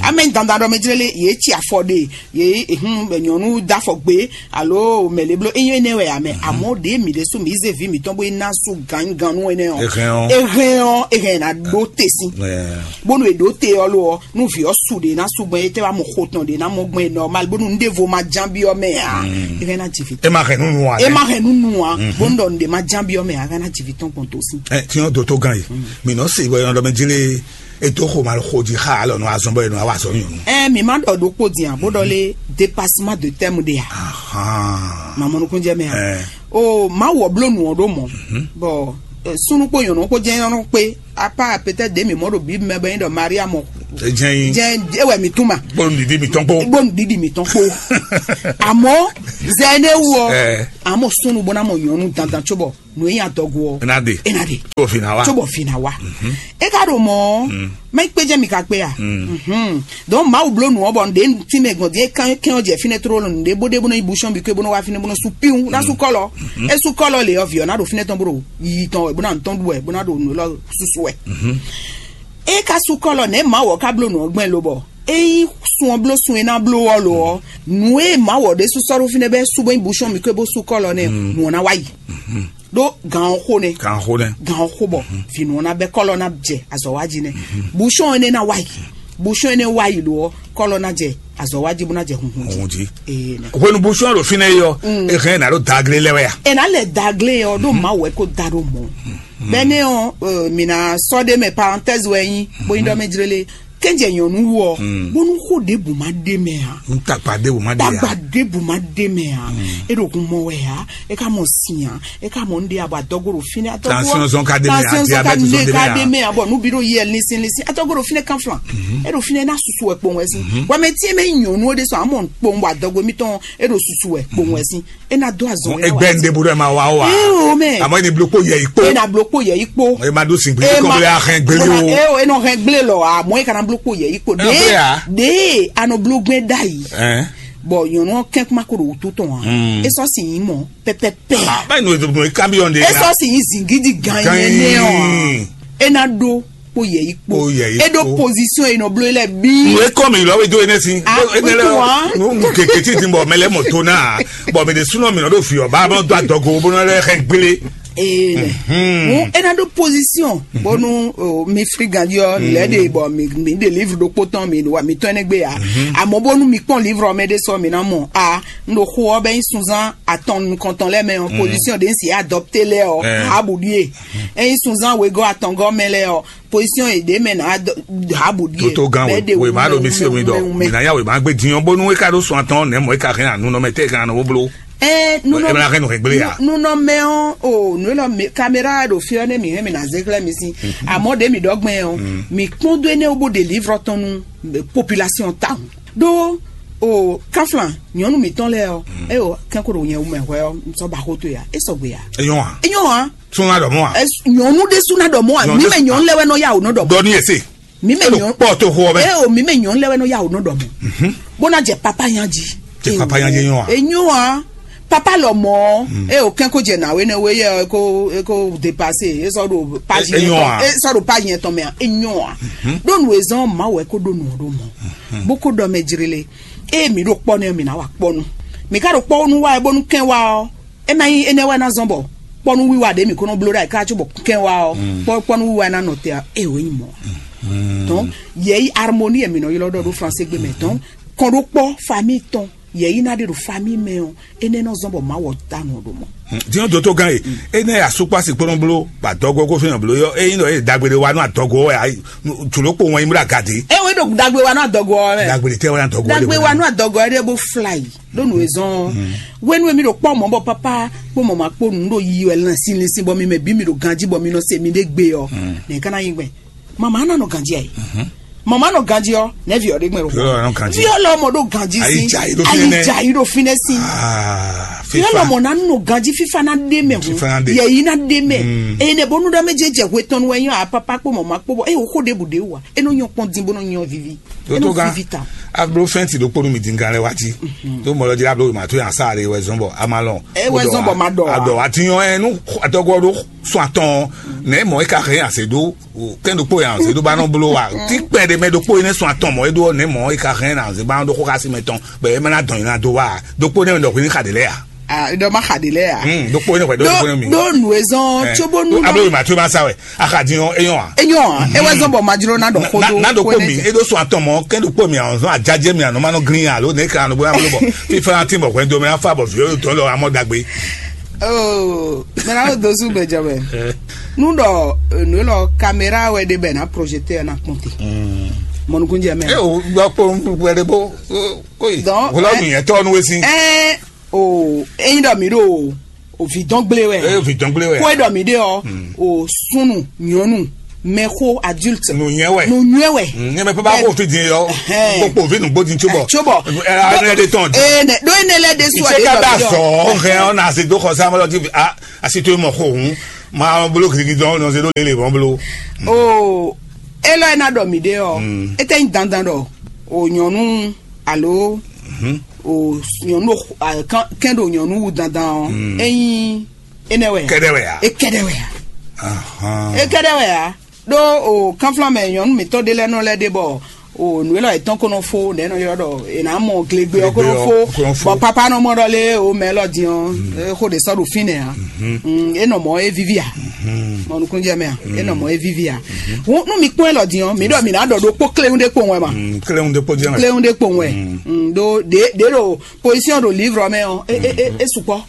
Amɛ dandan dɔ mɛ jlele ye tsi afɔ de ye ehun nyɔnu dafɔ gbe alo mɛle blo eyin ene wɛ amɛ amɔ de mi de su mi ze vi mi tɔn bo ina su ganyi ganu ene ɔ. Ehɛn ɔ. Ehɛn ɔ ehɛn na do te sin. Bonu e do te ɔ lo ɔ nu vi ɔ su de na su gbɛn e tɛ wa mɔ xo tɔn de na mɔ gbɛn normal bonu n de vo ma jan bi ɔ mɛ a. Ehɛn na jivi. E ma hɛn nunu wa. E ma hɛn nunu wa. Bonu dɔ n de ma jan bi ɔ mɛ a hɛn na jivi tɔn gbɔn to sin. Ɛ tiɲɔ doto gan yi. Mi nɔ se wɛ yɔn dɔ mɛ jele. Eto xo ma xo ji xa alɔ nɔ azɔn bɔ yɛ nɔ awa azɔn nyɔnu. Ɛ mi ma dɔ ɖokpo dian bó dɔ le dépassement de thème de ya. Ma mɔnukun jɛ mɛ ya. O ma wɔ blo nu ɔ ɖo mɔ. Bɔn sunu kpo nyɔnu kpo jɛ nyɔnu kpe apa peut-être de mi mɔ ɖo bi mɛ bɛ nyi dɔ maria mɔ. Jɛn yi. Jɛn ewɛ mi tuma. Gbɔnu didi mi tɔn kpo. Gbɔnu didi mi tɔn kpo. Amɔ zɛ ne wu ɔ. Amɔ sunu bɔ na mɔ nyɔnu dandan tso bɔ. Nu e nyi adɔgo ɔ. Ena de. Ena de. Tso bɔ fi na wa. Tso bɔ fi na wa. E ka ɖo mɔ. Mɛ kpe jɛ mi ka kpe ya. Donc mawu blo nu ɔ bɔ nde ti mɛ gbɔn die kan kɛn ɔ jɛ finɛ tro lɔ nde bo de bo nɔ yi bushɔn bi ke bo nɔ wa finɛ bo nɔ su piwu na su kɔlɔ. E su kɔlɔ le ɔ vi ɔ na ɖo finɛ tɔn bo ɖo yi tɔn wɛ bo na ntɔn ɖu wɛ bo na ɖo nu lɔ susu wɛ. E ka su kɔlɔ nɛ mawu ɔ ka blo nu ɔ gbɛn lo bɔ. Eyi sun ɔ blo sun e na blo ɔ lo ɔ. Nu e mawu ɔ ɖe su sɔ ɖo finɛ bɛ su bo nyi bushɔn mi ke bo su kɔlɔ nɛ nu ɔ na wa yi. Ɖó gan ɔ xo nɛ. Gan xo nɛ. Gan ɔ xo bɔ vinu ɔ na bɛ kɔlɔ na jɛ azɔ wa ji nɛ. Bushɔn ene na wa yi. Bushɔn ene wa yi lo ɔ kɔlɔ na jɛ azɔ wa ji bo na jɛ hunhun ji. Hunhun ji. Ee nɛ. Hwenu bushɔn ɖo finɛ yi ɔ. Ehɛn na ɖo dagle lɛ wɛ ya. Ena lɛ dagle ɔ ɖo mawu ɛ ko da ɖo mɔ. Bɛnɛ ɔ mina sɔ ɖe mɛ parenthèse wɛ nyi bo nyi ɖɔ mɛ jlele. Kɛnjɛ nyɔnu wɔ bonu xo ɖebu ma ɖe mɛ a. N tagba ɖebu ma ɖe ya. Tagba ɖebu ma ɖe mɛ a. E ɖo kun mɔ wɛ a. E ka mɔ si a. E ka mɔ n ɖe abɔ adɔgo ɖo finɛ atɔgo. Tension zɔn ka ɖe mɛ a. Tension zɔn ka diabète zɔn ɖe mɛ a. Ka ɖe mɛ a bɔ nu bi ɖo yɛ linsin linsin atɔgo ɖo finɛ kanflan. E ɖo finɛ na susu wɛ kpɔn wɛ si. Wa mɛ tiɛ mɛ nyɔnu o de sɔn amɔ kpɔn wa adɔgo mi tɔn e ɖo susu wɛ kpɔn wɛ si. E na do azɔn yɛ wa. Egbe n ɖebu ɖe ma wa wa. Ee o mɛ. Amɔ e ni blo kpo yɛ yi kpo. E na blo kpo yɛ yi kpo. E ma ɖo sin gbli kɔn bɛ ahɛn gbeli o. Ee o e nɔ hɛn gble lɔ a mɔ e kana blo kpo yɛ yi kpo. Ɖe ɖe anɔ blo gbɛ da yi. Bɔ nyɔnu ɔ́ kɛn kuma ko ɖo wútu tɔn ǎ. É sɔ́ si nyí mɔ pɛpɛpɛ. Báyìí nù ètò nù kanbiɔn de. É sɔ́ si nyí zingidi gan yẹn nɛ ɔ́ ǎ. É ná ɖó kpó yɛ yí kpó. Kpó yɛ yí kpó. É ɖó pozisɔn e nɔ bló lɛ bí. Nù é kɔn mi lɔ wé dó é nɛ si. Ah, énɛ́ lɛ wíwá. Nù kèké tí ti bɔ mɛ lɛ mɔ tó náà. Bɔ mɛ de súnɔ mi nɔ ɖo fi ɔ bá bá dó adɔgo bó nɔ lɛ xɛ gbélé. Ee, ŋu é ná ɖó pozisɔn bónú mi fri ganjí ɔ lɛ ɖe bɔ mi mi ɖe livre ɖokpó tɔn mi wa mi tɔn ɛnɛ gbé ya. Àmọ́ bónú mi kpɔn livre ɔ mɛ ɖé sɔ mi ná mɔ a n ɖo xo ɔ bɛ nyi sunzan atɔn nukɔntɔn lɛ mɛ ɔ, position ɖe n si adopté lɛ ɔ, abu ɖie. Enyi sunzan wegɔ atɔngɔ mɛ lɛ ɔ, position e ɖe mɛ na abu ɖie. Toto gan wema ɖo mi se mi dɔ mi na ya wema gbe diɲɔ bónú e ka ɖo sɔn atɔn nɛ mɔ e ka hɛn anu nɔ mɛ tɛ kan nɔ bó bló. Ɛ nunɔ Ɛ bɛna hɛn nɔ hɛn gblé ya. Nunɔmɛ ɔ o nu elɔ mi kamera ɖo fi ɔ ne mi hɛn mi na ze xlɛ mi si. Àmọ́ ɖe mi ɖɔ gbɛn ɔ mi kpɔn do ene wo bo ɖe livre tɔn nu population ta ɖo o kanflan nyɔnu mitɔn lɛ ɔ e o kɛn ko ɖo nyɛ wumɛ hwɛ ɔ sɔ ba xo to ya e sɔgbe ya. Enyɔ wa. Enyɔ wa. Suna dɔ mɔ wa. Nyɔnu ɖe suna dɔ mɔ wa mi mɛ nyɔnu lɛ wɛ nɔ ya o nɔ dɔ mɔ. Dɔ ni ese. Mi mɛ nyɔn kpɔ to xo ɔbɛ. E o mi mɛ nyɔn lɛ wɛ nɔ ya o nɔ dɔ mɔ. Bó na jɛ papa yan ji. Jɛ papa yan ji nyɔ wa. Enyɔ wa. Papa lɔ mɔ e o kɛn ko jɛ na we ne we yɛ e ko e ko dépassé e sɔ do page yɛn tɔn e sɔ do page yɛn tɔn mɛ a enyɔ wa. Ɖo nu ezɔn ma wɛ ko ɖo nu ɖo mɔ bó ko dɔ mɛ jiri le e mi ɖo kpɔ ne mi na wa kpɔ nu mi ka ɖo kpɔ nu wa e bónú kɛn wa ɔ. E ma nyí énɛ́ wɛ ná zɔ́n bɔ kpɔ́nú wiwa ɖě mǐ ko nɔ bló ɖ'ayǐ káká cóbɔ kɛn wá ɔ́, kpɔ́nú wiwa ná nɔ te ɔ́, é wě nyí mɔ̌. Donc yɛ̌yi harmonie e mǐ nɔ ylɔ́ ɖɔ ɖó fransé gbe mɛ, donc kɔn ɖó kpɔ́ famille tɔn yɛ̌yi ná ɖe ɖo famille mɛ ɔ́, énɛ́ nɔ zɔ́n bɔ Mawu ɔ́ dó anɔ ɖo mɔ̌. Din ɔ́, dotogán e, énɛ́ asúkpási kpɔ́nɔ́ bló bɔ adɔgɔ́ kó fɛ́n bló yɔ́, ényí ɖɔ é ɖagbe ɖé wá nú adɔgɔ́ wɛ, jǒlókpo wɛn nyí bó ɖo aga dě. É wé ɖo dagbe wa nú adɔgɔ́ ɔ́ mɛ. Dagbe ɖé tɛ́ wá nú adɔgɔ́ ɔ́ dagbe wa nú adɔgɔ́ ɔ́ ɖé bó fla yi ɖó nǔ e zɔ́n ɔ́. Wenu e mi ɖo kpɔ́ mɔ̌ bɔ pápá kpó mɔ̌ ma kpó nǔ ɖo yiyi wɛ lɛn sin lin sin bɔ mi mɛ bǐ mi ɖo ganjí bɔ mi nɔ se mi ɖé gbe ɔ́, nɛ̌ ka ná nyí gbɛn? Mama ná nɔ ganjí ɛ. Mama nɔ ganjí ɔ́, nɛ̌ vi ɔ́ ɖé gbɛn ɖo? Viɔlɔ nɔ ganjí. Viɔlɔ mɔ ɖo ganjí sí. Ayi jai ɖo fínɛ́. Ayi jai ɖo fínɛ́ sí. Ah, viɔlɔ mɔ ná nɔ ganjí fífá ná ɖé mɛ hu. Fífá ná ɖé. Yɛyi ná ɖé mɛ. Eye nɛ bónú ɖɔ mɛ jɛ jɛ hwe tɔn wɛ nyɔ a papa kpó mama kpó bɔ eye wò xó ɖěbǔ ɖě wà. E nɔ nyɔ kpɔn din bó nɔ nyɔ vivi. E nɔ Dotogán, vivi ta. Ablo fɛnti ɖokpó nú mi dingán lɛ wá jí. Tó mɔ lɔ jí ablo ma tó yan sáà lé wɛ zɔn bɔ a ma lɔn. E wɛ zɔn bɔ ma ɖɔ wa. Adɔ wa ti nyɔ ɛ nú adɔgɔ ɖo sɔn atɔn nɛ mɔ e ka hɛn ase ɖó kɛn ɖokpó yan ase ɖó ba nɔ blo wa ti kpɛ ɖe mɛ ɖokpó yi ne sɔn atɔn mɔ e ɖó nɛ mɔ e ka hɛn na ase ba nɔ ɖó xó xasi mɛ tɔn bɛ e ma na dɔn yi na do wa ɖokpó nɛ mɛ ɖɔ hwini xa ɖe lɛ ya. Ah, ɖɔ ma xa ɖe lɛ ya. Hmm, ɖokpó nɛ hwɛ ɖɔ ɖokpó nɛ mi. Ɖó nu ezɔn tso bó nu. Ablo ma tó ma sa wɛ. Axadin ɔ́, é nyɔ́ ǎ. É nyɔ́ ǎ. É wɛ zɔ́n bɔ ma jló ná ɖɔ xó dó. Ná ɖo kpó mi, é ɖó sɔn atɔn mɔ̌, kɛ́n ɖo kpó mi, àwọn zɔ́n àjájɛ mi, ànɔ má nɔ glín alo nɛ̌ ka nɔ bó ná bló bɔ fífá ná tín bɔ hwɛndo mɛ ná fá bɔ vǐ ó dɔn lɔ amɔ dagbe. Oh, mɛ ná ɖo dó sú gbɛjɔ mɛ. Nú ɖɔ nǔ lɔ caméra wɛ ɖe bɛ ná projecteur ná kpɔn te. Mɔnukúnjɛ mɛ. É o gbɔ kpó wɛ ɖe bó kóyi. Donc, wòlá nìyẹn tọ́ nu wé sí. Ɛ o eyín ɖɔ mi ɖo o vǐ dɔn gblé wɛ. Eye vǐ dɔn gblé wɛ. Kó e ɖɔ mi ɖe ɔ o súnnu nyɔnu mɛxó adulte. Nù nyɛ wɛ. Nù nyɛ wɛ. Nyɛ mɛ pé bá kó fi dín yɔ. Kpokpo vi nùgbó dín tso bɔ. Tso bɔ. Ɛɛ ne ɖo ene lɛ de su. Ìṣe ká bá sọ ɔhẹ ɔna àti dó xɔ sáwọn lọ tí a àti tó mọ xó òun máa bolo kìrìkì dán ọ̀nà ṣe ló lè lè wọ́n bolo. O elɔ ena ɖɔ mi ɖe ɔ. Ete nyi dandan ɖɔ o nyɔnu alo o nyɔnu kɛn ɖo nyɔnu wu dandan ɔ. Enyi enɛ wɛ. Kɛdɛ wɛ ya. Ekɛdɛ wɛ ya. Ekɛdɛ wɛ ya. Ɖó o kanflan mɛ nyɔnu mǐtɔn ɖé lɛ́ɛ nɔ lɛ́ ɖe bɔ o nǔ élɔ́ yětɔn ko nɔ fó nɛ̌ nɔ ylɔ́ ɖɔ è nǎ mɔ glegbe ɔ́ ko nɔ fó. Bɔ papa nɔ mɔ ɖɔ lé o mɛ élɔ́ din ɔ́ xó ɖě sɔ́ ɖo fínɛ́ ǎ. É nɔ mɔ é víví ǎ. Mɔ nukúnnú jɛ mɛ ǎ. É nɔ mɔ é víví ǎ. Nú mi kpɔ́n élɔ́ din ɔ́ mi ɖɔ mi ná ɖɔ ɖokpó kléwún ɖé kpowun wɛ ma. Kléwún ɖé kpó jẹ́ mɛ. Kléwún ɖé kpowun wɛ. Ɖó ɖě ɖě ɖo position ɖo livre mɛ ɔ́ é é é sukpɔ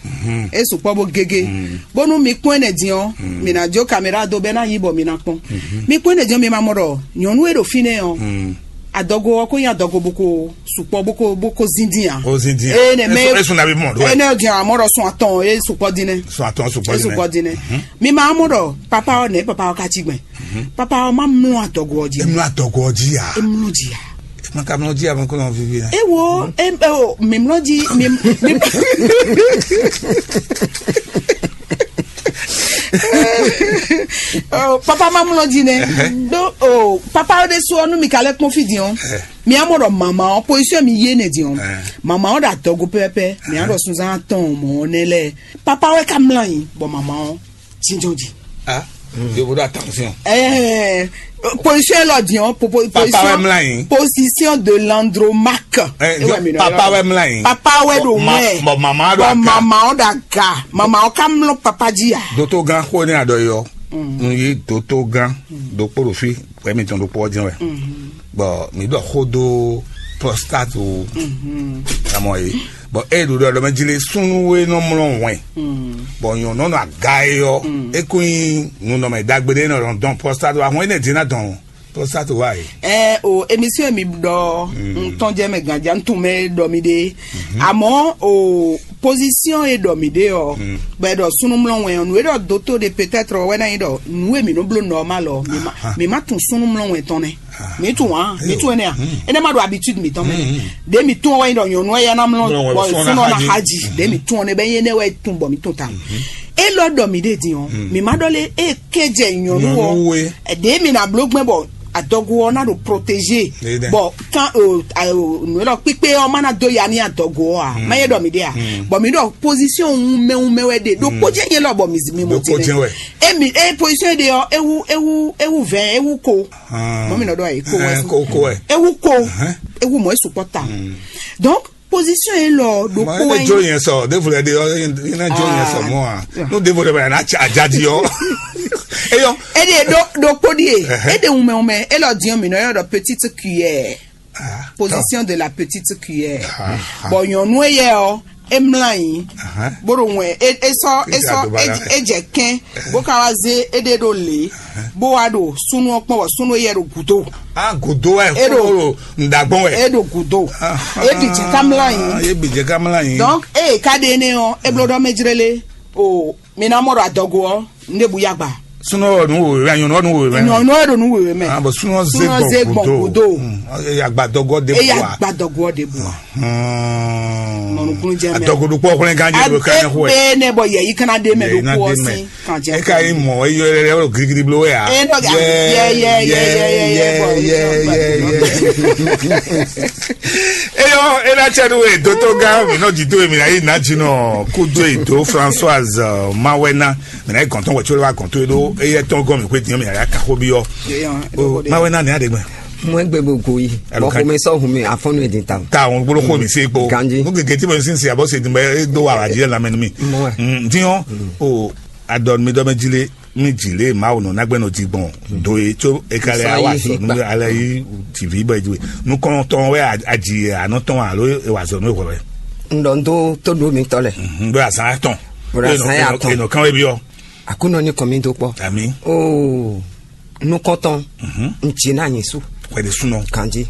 é sukpɔ bó gégé. Bónú mi kpɔ́n ɛnɛ din ɔ́ mi ná jó caméra dó bɛ́ ná yí bɔ mi ná kpɔ́n. Mi kpɔ́n ɛnɛ din ɔ́ mi ma mɔ ɖɔ nyɔ̌nu e ɖo fínɛ́ ɔ́ adɔgo ɔ́ kó nyí adɔgo bó ko sukpɔ bó ko bó ko zín dín ǎ. Ó zín dín ǎ. Ee nɛ mɛ Esu- esu na bí mɔ ɖó ɛ. Ɛnɛ din amɔ ɖɔ sun atɔn e sukpɔ dín nɛ. Sun atɔn sukpɔ e dín sukpɔ nɛ. Dín nɛ. Mi ma mɔ ɖɔ papa ɔ́ nɛ papa ɔ́ ka cí gbɛn. Papa ɔ́ ma mlɔ adɔgo ɔ́ jí. Emlɔ adɔgo ɔ́ jí ya. Emlɔ jí ya. Makamlɔ jí abɔ kɔnɔ vivi na. Ewo em eo mimlɔ dzi mim mim. Oh, papa ma mlɔ dzi nɛ. Ɖo O papa ɔ́ ɖésú ɔ́, nú mi ka lɛ́ kpɔ́n fí din ɔ́, mi á mɔ ɖɔ mama ɔ́, pozíṣɔ́ mi yé nɛ din ɔ́, mama ɔ́ ɖo adɔgo pɛpɛpɛ, mi á ɖɔ sunzán atɔn mɔ̌ nɛ́ lɛ́ɛ. Papa wɛ ka mlá nyi, bɔ mama ɔ́ jínjɔ́n jí. Ah, yovo ɖo attention. Ɛɛ, position élɔ́ din ɔ́, po- po- Papa wɛ position mlá nyi. Position de l'Andromaque. Eh, Ewɛ mi nɔ papa yɔ. Wɛ mlá nyi. Papa wɛ ɖo Ma- wɛ. Bɔ mama ɖo Bɔ aga. Mama ɔ́ ɖo aga. Mama ɔ́ ka mlɔ papa jí ya. Dótó gán xó ní àdó yɔ. N yí dótó gán dókpó ɖo fí, wɛ mi tɔn dókpó ɔ́ jɛn wɛ. Bɔn mi ɖɔ xó dó prostate o. Amɔ yi. Bɔn e ɖo ɖɔ ɖɔ mɛ jí lé súnú e nɔ mlɔ wɛn. Bɔn nyɔ̌nu nɔ aga e yɔ. E kún nyí nunɔmɛ dagbe ɖé nɔ dɔn prostate o. Ahɔn e nɛ dín ná dɔn prostate wa yi. Ɛ o émission mi ɖɔ ntɔn jɛ mɛ ganja ntun mɛ ɖɔ mi ɖe. Àmọ́ o position e ɖɔ mi ɖe ɔ, bɛ ɖɔ sunumlɔ wɛn ɔ, nu e ɖɔ doto de peut-être wɛ na yi ɖɔ nu e mi nɔ blo normal ɔ, mi ma mi ma tun sunumlɔ wɛn tɔn nɛ. Mi tun wa mi tun ɛnɛ a? Ɛnɛ ma ɖo habitude mi tɔn mɛ. De mi tun wɛ yi ɖɔ nyɔnu ya na mlɔ Mlɔ wɛn bɔ fún sunɔ na na haji. Haji. De mi tun ɔnɛ bɛ yi ɛnɛ wɛ tun bɔ mi tun ta. E lɔ ɖɔ mi ɖe din ɔ, mi ma ɖɔ le e kɛjɛ nyɔnu Nyɔnu ɔ. We. Ɛdɛ mi na blo gbɛn bɔ adɔgo ɔ na ɖo protégé. Ɖe dɛ. Bɔn kan nu elɔ kpikpe ɔ ma na do ya ni adɔgo ɔ a ma ye ɖɔ mi ɖe a. Bɔn mi ɖɔ position wumɛ wumɛ wɛ ɖe ɖo kpɔjɛ nyɛ lɔ bɔ mi zi mi mo Ɖo ti kpɔjɛ nɛ wɛ. Emi e position ɖe ɔ ewu ewu ewu vɛn ewu ko. Mɔ mi nɔ ɖɔ ayi ko wɛ Ɛn, fún. Ko ko wɛ. Ewu ko ewu mɔ esu kpɔ ta. Donc position ye lɔ ɖo Mɔ ko ene wɛ jo nyi. Yẹn sɔ, ɖevo lɛ ɖe ɔ, ene jo yẹn sɔ mɔ a. Ah. No ɖevo lɛ bɛ na tsa ajadi ɔ. Eyɔ. Ede ɖo ɖo kpodi ye. Ede wumɛ wumɛ elɔ diɔ mi nɔ yɔ ɖɔ petite cuillère. Position de la petite cuillère. Bɔn nyɔnu eyɛ ɔ emla yi. Boro ŋwɛ esɔ esɔ edze kɛn bó ka wá zé eɖe ɖo lě bó wá ɖo súnú ɔ kpɔn bɔ súnú eyɛ ɖo gǔdo. A gǔdo wɛ Eɖo. Kúrò ŋdàgbọ́n wɛ. Eɖo gúdo. Eɖi jɛ ká mlá yín. Ye bi jɛ ká mlá yín. Donc eye ká ɖe énɛ́ ɔ́, eblo ɖɔ mɛ jlélé o mi ná mɔ ɖo adɔgo ɔ́, ndé bu yagba. Súnú ɔ́ nú wòwe wɛ, nyɔ̌nu ɔ́ nú wòwe wɛ. Nyɔ̌nu ɔ́ ɖo nú wòwe mɛ. Ah, bɔn súnú ɔ́ zé Súnú ɔ́ zé gbɔn gbɔn gúdo. Gúdo. Hmm, ɔ́ yɛ agbadɔgɔ ɖe Eye bua. Agbadɔgo ɔ́ ɖe bu. Hmm. Mɔnukun jɛ mɛ. Adɔgo ɖokpɔ xlɛn kan jɛ ɖo kan xɔ. Ebe ne bɔ yɛ yi kana de mɛ Yɛ yi ɖo na kɔ de mɛ. Si kan jɛ. E ka yi mɔ eyɔ yɛ yɛ girigiri blo wɛ ya. E nɔ ga yɛ yɛ yɛ yɛ yɛ yɛ bɔ yɛ yɛ yɛ. Eyɔ ena tsɛ nu e doto gã mi nɔ dzi do mi na yi na dzi nɔ kudo e do Françoise uh, Mawɛna mi na yi gɔntɔn wɛ tso lɛ wa gɔntɔn e do eyɛ tɔn gɔn mi ko e diɲɔ mi na ya ka xo bi yɔ. Mawɛna ni aɖe gbɛ. Mo egbe bo go yi. Alo bɔ kan- xome sɔ hun mi afɔnu edin ta. Ta wọn gbolo xo mi se kpo. Ganji. Mo gege ti mo sin si abo se dun bɛ e do wa wa ji la mɛ mi. Mo wɛ. Diɲɔ o adɔn mi dɔ mɛ jile mi jile ma o nɔ nagbɛ nɔ ji gbɔn do ye tso e ka lɛ Sɔ awa yi sɔ fi nu gba. Ale yi ti vi bɔ eju nu kɔn tɔn wɛ aji anɔ tɔn alo e wa zɔ nu e wɛ. N dɔ n to to do mi tɔ lɛ. N do azan atɔn. O do azan atɔn. Enɔ kan wɛ bi ɔ. Akunɔ ni kɔn mi do kpɔ. Ami. Oo. Nukɔntɔn, n tsi na nyi su. Wɛɖe sunɔ. Kanji.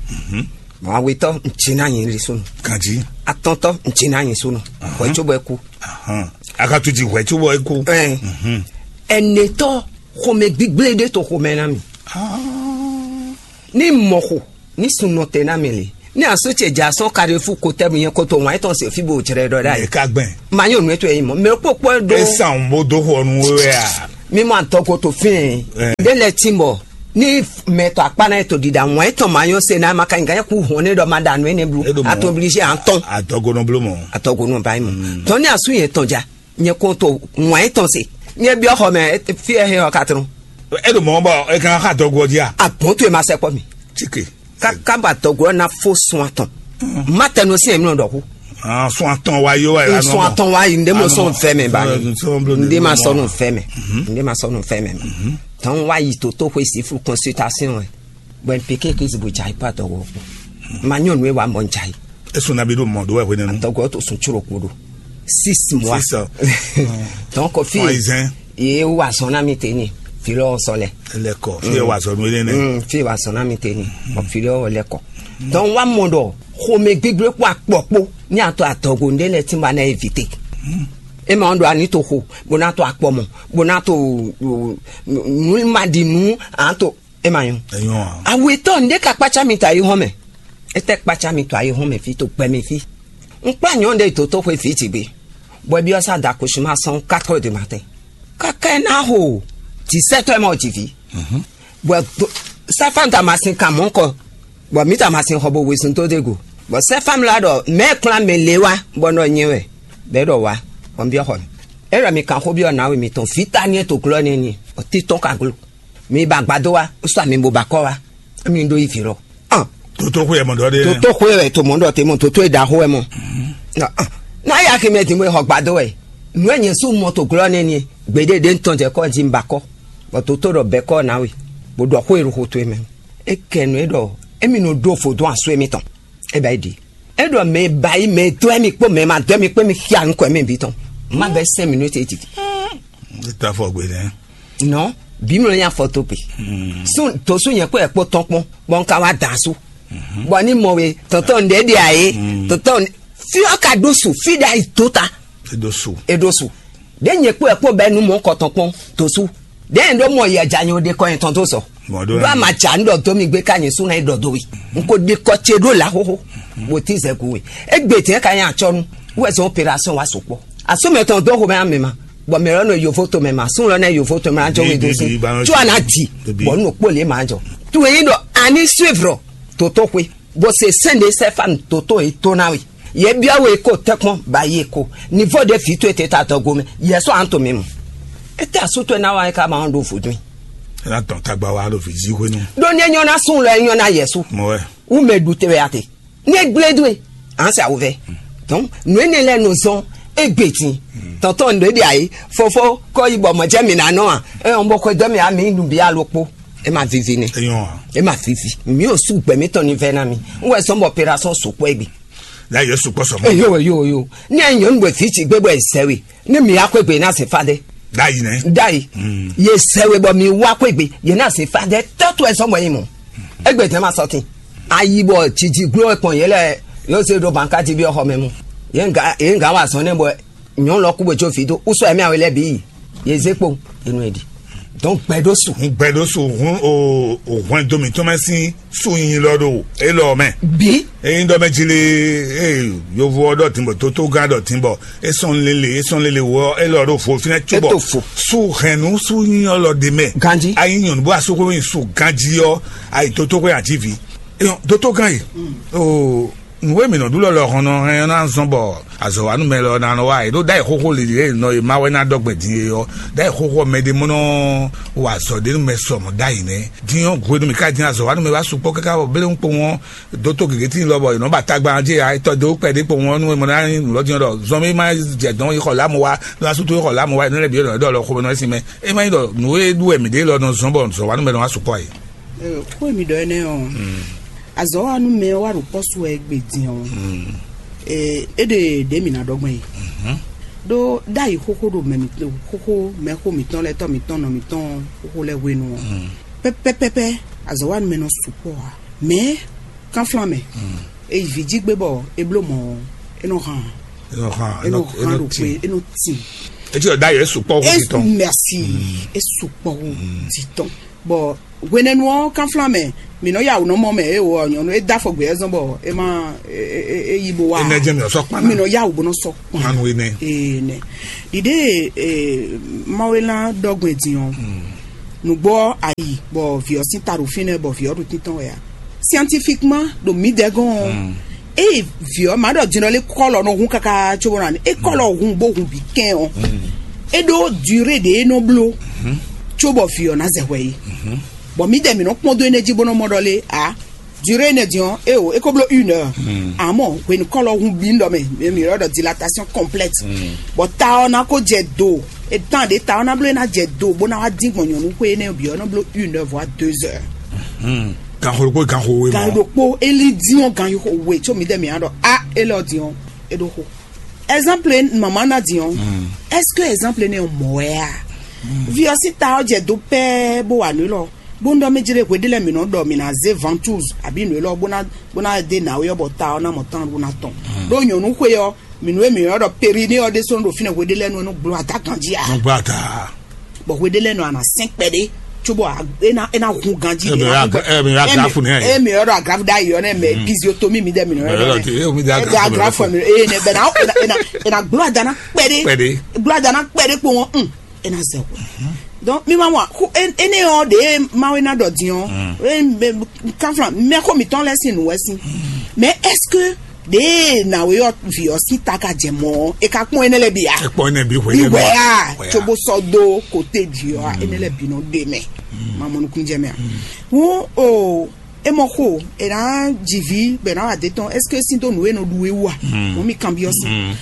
Awetɔ, n tsi na nyi li sunu. Kanji. Atɔntɔ, n tsi na nyi sunu. Wɛ tso bɔ eku. Akatuji wɛ tso bɔ eku. Ɛn. Ɛnɛtɔ, xɔmɛ gbigble ɖe to xɔmɛ na mi. Ni mɔ xo, ni sunɔ tɛ na mi le. Ni asu ce dza sɔn kaɖefu kotɛbu nyɛ koto wan etɔn se fi bo jrɛ ɖɔ ɖa yi. Eka gbɛn. Ma nyɔ nu eto yi mɔ. Mɛ kpokpo do. Esan bo do xɔ nu wɛ a. Mi mɔ atɔ ko to fɛn. Ɛ. De lɛ ti bɔ. Ni mɛ tɔ akpa na eto dida wan etɔn ma nyɔ se na ma ka nga ku hɔn ne dɔ ma da nu ene blu. Edo mɔ. Ato obligé antɔn. Adɔgonɔ blo mɔ. Atɔgonɔ ba yi mɔ. Tɔ ni asu yɛ tɔn dza. Nyɛ ko to wan etɔn se. Nyɛ biɔ xɔ mɛ fi ɛ he ɔ katrɔn. Edo mɔ bɔ e kan xa dɔgɔ di a. Abɔn to e ma sɛ kpɔ mi. Tike. Kaka ba dɔgɔ na fo sun atɔn. Ma tɛ no si emi nɔ dɔ ko. Ah, sun atɔn wa yo wa. Sun atɔn wa yi nde mo sɔn fɛ mɛ ba. Nde ma sɔnu fɛ mɛ. Nde ma sɔnu fɛ mɛ. Tɔn wa yi toto ko isi fru consultation. Bɔn peke ke zibo jai pa dɔgɔ. Ma nyɔnu e wa mɔ jai. Esun na bi ɖo mɔ ɖo wɛ hwenɛnu. Tɔgɔ to sun tsoro ko ɖo. Six mois. Six. Donc fi. Ɔyizɛn. Ye wa zɔn na mi te ni. Fi lɔ sɔ lɛ. Lɛkɔ fi wa zɔn nu yɛ nɛ. Mm, fi wa zɔn na mi te ni. Ɔ fi lɔ lɛkɔ. Donc wa mɔ dɔ xome gbigble kpɔ akpɔ kpo ni atɔ atɔgo nde lɛ ti ba na evite. E ma ɖo ani to xo bo na to akpɔ mɔ bo na to nu ma di nu an to. E ma nyɔ. Enyo. Awetɔ nde ka kpatsa mi ta yi hɔn mɛ. Etɛ kpatsa mi to ayi hɔn mɛ fi to gbɛ mi fi. N kpla nyɔ ɖe to to xwe fi ti gbe. Bɔ bi ɔsa da kusuma sɔn quatre heures du matin. Kaka ɛ na ho dix-sept heures mɔ ji vi. Bɔ do Sɛ́fánu ta ma sin kan mɔ̌ kɔ, bɔ mǐ ta ma sin xɔ bo wezun dó dé go. Bɔ Sɛ́fánu lɛ́ɛ ɖɔ mɛ̌ kplán mɛ lě wá, bɔ nɔ nyɛ wɛ, bɔ é ɖɔ wá, bɔ un byɔ́ xɔ mɛ. É ɖɔ mi kan xó byɔ́ nǎwe mitɔn, vǐ ta ní e to glɔ́ nɛ́ ní, bɔ títɔn ka glo. Mi ba agbadó wá, sɔ mi bo ba kɔ́ wá, mi ɖó yi vǐ lɔ. Ɔn, Toto xwe ɛ mɔ ɖɔ ɖe. Toto xwe wɛ to mɔ ɖɔ te mɔ toto e ɖaxó wɛ mɔ. Ɔn, ɔn. Ná ya ke mɛ din bo xɔ gbadó wɛ. Nǔ e nyɛ sú mɔ to glɔ́ nɛ́ ní, gbeɖé ɖé ŋutɔn jɛ kɔ́ jí un ba kɔ́, bɔ toto ɖɔ bɛ̌ kɔ́ ná we, bó ɖɔ xó e ɖo xo towe mɛ. É kɛ nǔ e ɖɔ émí nɔ ɖó vodún asú émítɔn. É bɛ́ ɖi. É ɖɔ mɛ e ba yi mɛ e dó émí kpó mɛ e ma dó émí kpó émí xia nukɔn émí bǐ tɔn. Má bɛ́ sɛ́n mǐ nú étɛ́ titi. Éta fɔ gbe nɛ. Nɔ, bǐ mlɔ nya fɔ to pe. Sún to sún nyɛ kpó ɛ kpó tɔn kpɔn, bɔ un ka wá dan asú. Bɔ ní mɔ we tɔntɔn ɖě ɖe ayé, tɔntɔn fí ɔ ka ɖó su fí ɖe ayi tó ta. Edo su. Eɖo su. Ɖě nyɛ kpó ɛ kpó bɛ́ nú mɔ kɔtɔn kpɔn to sú. Ɖě nyɛ ɖó mɔ yɛ ja nyɛ ɖe kɔ nyɛ tɔn tó sɔ. Mɔ ɖó ɖó ama ja nu ɖɔ dó mi gbé ká nyɛ sú na yi ɖɔ dó we. N ko ɖe kɔ ce ɖó la xóxó. Bó tí zɛ gu we. Égbé tɛn ka nyɛ atsɔnu. Wɛ zɔn opération wa sukpɔ. Asɔmɛ tɔn dó xomɛ amɛ ma. Bɔ mɛ lɔ nɔ yovo to mɛ ma. Sún lɔ nɛ yovo to mɛ ajɔ we do sí. Tso ana di. Bɔ nu kpó le ma jɔ. Tu yi ɖɔ ani suivre. Toto xwe. Bó se sɛ́n ɖé sɛ́ fá nǔ tótó e tó ná we. Yě byɔ́ we kó tɛ́kpɔ́n ba yi ko. Nivo ɖé vǐ towe te ta dɔgo mɛ. Yɛ sɔ́ an to mi mu. Étɛ́ asú towe ná wa é ká ma ɔ́ ɖo vodún. É ná tɔn tagba wa ɖo vǐ zi hwenu. Ɖó ní é nyɔ́ ná sún lɔ é nyɔ́ ná yɛ sú. Mɔ wɛ. Wú mɛ ɖu te wɛ a te. Ní é gblé dó e. An sa wovɛ. Donc nǔ énɛ́ lɛ́ɛ nɔ zɔn égbé din. Tɔntɔn nǔ ɖé ɖe ayé. Fofo kɔ yi bɔ mɔ̌ jẹ́ mi ná nɔ a. É ɔn bɔ xwedó mi a mi nu bi alo kpó. É ma vivi nɛ. Eyɔn a. É ma vivi. Mi ò sú gbɛ mi tɔn ní vɛ ná mi. N wɛ sɔn bɔ opération sukpɔ egbe. La yɛ sukpɔ sɔmɔ. Eyo eyo eyo. Ní ɛ nyɔnu bɔ fi tsi gbé bɔ ɛ zɛ we. Ní mi akɔ egbe ná se fa dɛ. Dayi nɛ. Dayi. Ye zɛ we bɔ mi wá akɔ egbe. Ye ná se fa dɛ. Tɔtu ɛ sɔmɔ yi mɔ. Egbe tɛ ma sɔtin. Ayi bɔ tsitsi glo ɛ kpɔn yɛ lɛ. Yóò se ɖo banka ti bi ɔxɔ mɛ mu. Ye nga ye nga wa sɔn nɛ bɔ nyɔnu lɔ kú bó tso fi dó. Usɔ ɛmɛ awe lɛ bi yi. Ye zé kpo. Enu edi. Donc gbɛɖó su. Gbɛɖó su hun o o hwɛndo mǐtɔn mɛ sín su nyi lɔ ɖo élɔ mɛ. Bi. Eyin ɖɔ mɛ jili ee yovo ɔ ɖɔ tìǹbɔ tótógán ɖɔ tìǹbɔ esɔn lele esɔn lele wɔ élɔ ɖo fo fínɛ tso bɔ. Eto fo. Su hɛnnu su nyi ɔlɔ ɖe mɛ. Ganji. Ayi nyɔnu bó asokolo yin su ganji ɔ ayi tótógán ajivi. Eyɔn tótógán yi. Oo. Nǔ e mǐ nɔ ɖu lɔ lɔhɔn nɔ hɛn ɔ́ ná zɔ́n bɔ azɔ̌wánú mɛ lɔ ná nɔ wá e ɖó ɖ'ayǐ xóxó lili e nɔ e ma wɛ ná ɖɔ gbɛ̌ din é ɔ́, ɖ'ayǐ xóxó ɔ́ mɛ ɖé mɔ nɔ wa azɔ̌ ɖé nú mɛ sɔ mɔ̌ ɖ'ayǐ nɛ́. Din ɔ́, hwenu mǐ ka din azɔ̌wánú mɛ wá sukpɔ́ káká bɔ bélé ń kpo wɔn dótó gěgé tíin lɔ bɔ è nɔ ba tagba jí ǎ, etɔ́ dó kpɛɖé kpo wɔn nú e mɔ ná nyí nǔ lɔ din ɔ́ ɖɔ zɔn mɛ ma jɛ dɔn yi xɔ lámɔ wá, lɔ asútó yi xɔ lámɔ wá, è nɔ lɛ́ bǐ ɖɔ é ɖɔ lɔ xomɛ nɔ é sin mɛ. É má nyí ɖɔ nǔ e ɖu wɛ mǐ ɖe lɔ nɔ zɔ́n bɔ azɔ̌wánú mɛ nɔ wá sukpɔ́ ǎ é. Xó e mi ɖɔ énɛ́ ɔ́, azɔ̌wanú mɛ ɔ́ wá ɖo kpɔ́ su wɛ égbé din ɔ́, é ɖe ɖě mǐ ná ɖɔ gbɔn yi. Ɖó ɖ'ayǐ xóxó ɖo mɛ mitɔn xóxó mɛxó mǐtɔn lɛ́ɛ tɔ́ mǐtɔn nɔ mǐtɔn xóxó lɛ́ɛ hwenu ɔ́, pɛ́pɛ́pɛ́pɛ́ azɔ̌wanú mɛ nɔ sukpɔ́ ǎ. Mɛ̌ kánflán mɛ, è yi vǐ jí gbé bɔ é bló mɔ̌ ɔ́, é nɔ hán. É nɔ hán, é nɔ hán ɖo kpé, é nɔ tin. Etí ɔ̀dá yɛ sukpɔ́ hó é titɔn. Mɛsi, é sukpɔ́ hó titɔn. Bɔ hwenɛ́nu ɔ́ kánflán mɛ, mǐ nɔ yá wǔ nɔ mɔ mɛ é wɔ nyɔ̌nu é dó afɔ gbě ɛ zɔn bɔ é má é yi bó wá. Énɛ́ jẹ́ mi ɔ̀sọ́ kpán. Mǐ nɔ yá wǔ bó nɔ sɔ kpán. Kpánu énɛ́. Ene. Ɖiɖe Mawela ɖɔ gbɛn din ɔ́, nǔgbó ɔ́ ayi bɔ vǐ ɔ́ sín ta ɖo fínɛ́ bɔ vǐ ɔ́ ɖo títɔn wɛ ǎ. Scientifiquement ɖo mǐdɛɛ gɔ́n ɔ́, eye vǐ ɔ́ ma ɖɔ din ɔ́ lé kɔ́lɔ nɔ hun káká cóbɔ nɔ é kɔ́lɔ hun bó hun bǐ kɛn ɔ́, é ɖó durée ɖě é nɔ bló cóbɔ vǐ ɔ́ ná zɛ hwɛ é. Bɔ mǐdɛɛ mǐ nɔ kpɔ́n dó énɛ́ jí bó nɔ mɔ ɖɔ lé ǎ. Durée énɛ́ din ɔ́, é o é ko bló une heure. Amɔ̌ hwenu kɔ́lɔ hun bǐ ɖɔ mɛ mǐ ylɔ́ ɖɔ dilatation complète. Bɔ ta ɔ́ ná ko jɛ do étan ɖě ta ɔ́ ná bló é ná jɛ do bó ná wá dín gbɔn nyɔ̌nu xwé énɛ́ bǐ ɔ́ nɔ bló une heure voire deux heures. Ganxo ɖokpó ganxo we mɔ. Gan ɖokpó é lí dín ɔ́ gan yi xo we có mǐdɛɛ mǐ á ɖɔ á élɔ́ din ɔ́ é ɖó xo. Exemple mama ná din ɔ́, est-ce que exemple énɛ́ ɔ́ mɔ̌ wɛ a? Vi ɔ́ sín ta ɔ́ jɛ do pɛ́ɛ bó wa nǔ élɔ́. Bó ń ɖɔ mɛ jlé hwe ɖé lɛ́ɛ mǐ nɔ ɖɔ mǐ ná zé ventouse abǐ nǔ élɔ́ bó ná bó ná dé nǎwe ɔ́ bɔ ta ɔ́ ná mɔ tán bó ná tɔn. Ɖó nyɔ̌nu xwe ɔ́, mǐ nú e mǐ nɔ ɖɔ périnée ɔ́ ɖésú ɖo fínɛ́ hwe ɖé lɛ́ɛ nú é nɔ gbló ada ganjí ǎ. Nɔ gbló ada. Bɔ hwe ɖé lɛ́ɛ nɔ ana sɛn kpɛɖé cóbɔ é ná é ná hun ganjí. Emi ɖé ná ɔ́ agra- emi ɖé ɔ́ agrafu nɛ. Emi ɔ́ ɖɔ agrafu ɖ'ayǐ ɔ́ nɛ mɛ physiotomie mi ɖɛ mǐ nɔ Emi ɔ́ ɔ́ ɖɔ ɖɔ te emi ɖe ɛ ɖe agrafu. Agrafu mi eye nɛ bɛ na é na é na gbló ada ná kpɛɖé. Kpɛɖé. Gbló ada ná kpɛɖé kpó wọn un é na zɛ hwe. Donc mi ma mɔ xó énɛ́ ɔ́ ɖě Mawu ná ɖɔ din ɔ́, kanflan mɛ xó mǐtɔn lɛ́ɛ sín nǔ wɛ sín. Mais est-ce que ɖě nǎwe ɔ́ vǐ ɔ́ sín ta ka jɛ mɔ̌ ɔ́, è ka kpɔ́n énɛ́ lɛ́ɛ bǐ a? Ɛ kpɔ́n énɛ́ bǐ xwé Iwɛ a? Tso bó sɔ́ dó kote jí ɔ́, énɛ́ lɛ́ɛ bǐ nɔ ɖe mɛ. Ma mɔ nukúnnú jɛ mɛ a? Hǔn o, é mɔ xo è nǎ ji vǐ bɔ è nǎ wa dé tɔn, est-ce que sín dó nǔ e nɔ ɖu é wú a? Mɔ̌ mi kanbyɔ́ sín.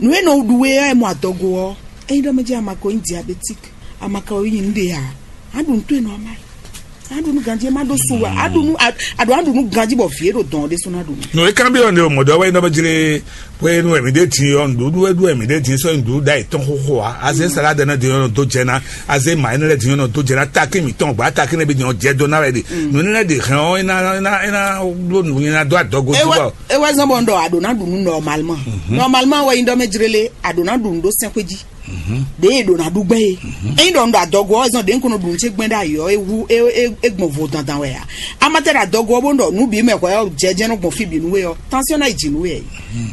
Nǔ e nɔ ɖu é ɔ́, è mɔ adɔgo ɔ́, ényí ɖɔ mɛ jẹ́ a ma ko nyí diabétique, a ma ka nyí nǔɖé a? A ɖu nǔ towe normal. A ɖu nǔ ganjí, e má ɖó su a, a ɖu nǔ a ɖu a ɖu nǔ ganjí bɔ vǐ e ɖo dɔn ɔ́ ɖésú ná ɖu nǔ. Nǔ e kanbyɔ́ ne o mɔ̌ ɖɔ wɛ nyí ɖɔ mɛ jlé. Hwenu e mǐ ɖe din ɔ́, nǔɖuɖu e ɖu wɛ mǐ ɖe din sɔ́ nyi nǔɖuɖu ɖ'ayǐ tɔn xóxó ǎ. Azé salade nɛ́ din ɔ́ nɔ dó jɛ ná, azé ma énɛ́ lɛ́ɛ din ɔ́ nɔ dó jɛ ná, takín mǐtɔn gbǎ takín nɛ́ bí din ɔ́ jɛ dó ná wɛ ɖe. Nǔ énɛ́ lɛ́ɛ ɖe hɛn ɔ́, é ná é ná é ná bló nǔ é ná dó adɔgo jí bɔ. É wɛ zɔn bɔ un ɖɔ a ɖǒ ná ɖu nǔ nɔmalman. Nɔmalman wɛ nyí ɖɔ mɛ jlélé a ɖǒ ná ɖu nǔ ɖó sɛ́nxwé jí. Ɖěe è ɖǒ ná ɖu gbɛ́ é. Ényí ɖɔ un ɖo adɔgo ɔ́ zɔn ɖě un ko nɔ ɖu nǔ ce gbɛn ɖ'ayǐ ɔ́, é wú é é é gbɔn vo dandan wɛ ǎ. Amatɛ ɖo adɔgo ɔ́ bó un ɖɔ nǔ bǐ mɛ hwɛ ɔ́ jɛ jɛ́n nɔ gbɔn fí bǐ nú we ɔ́, tánsyɔ́n ná yi jǐ nú we ǎ.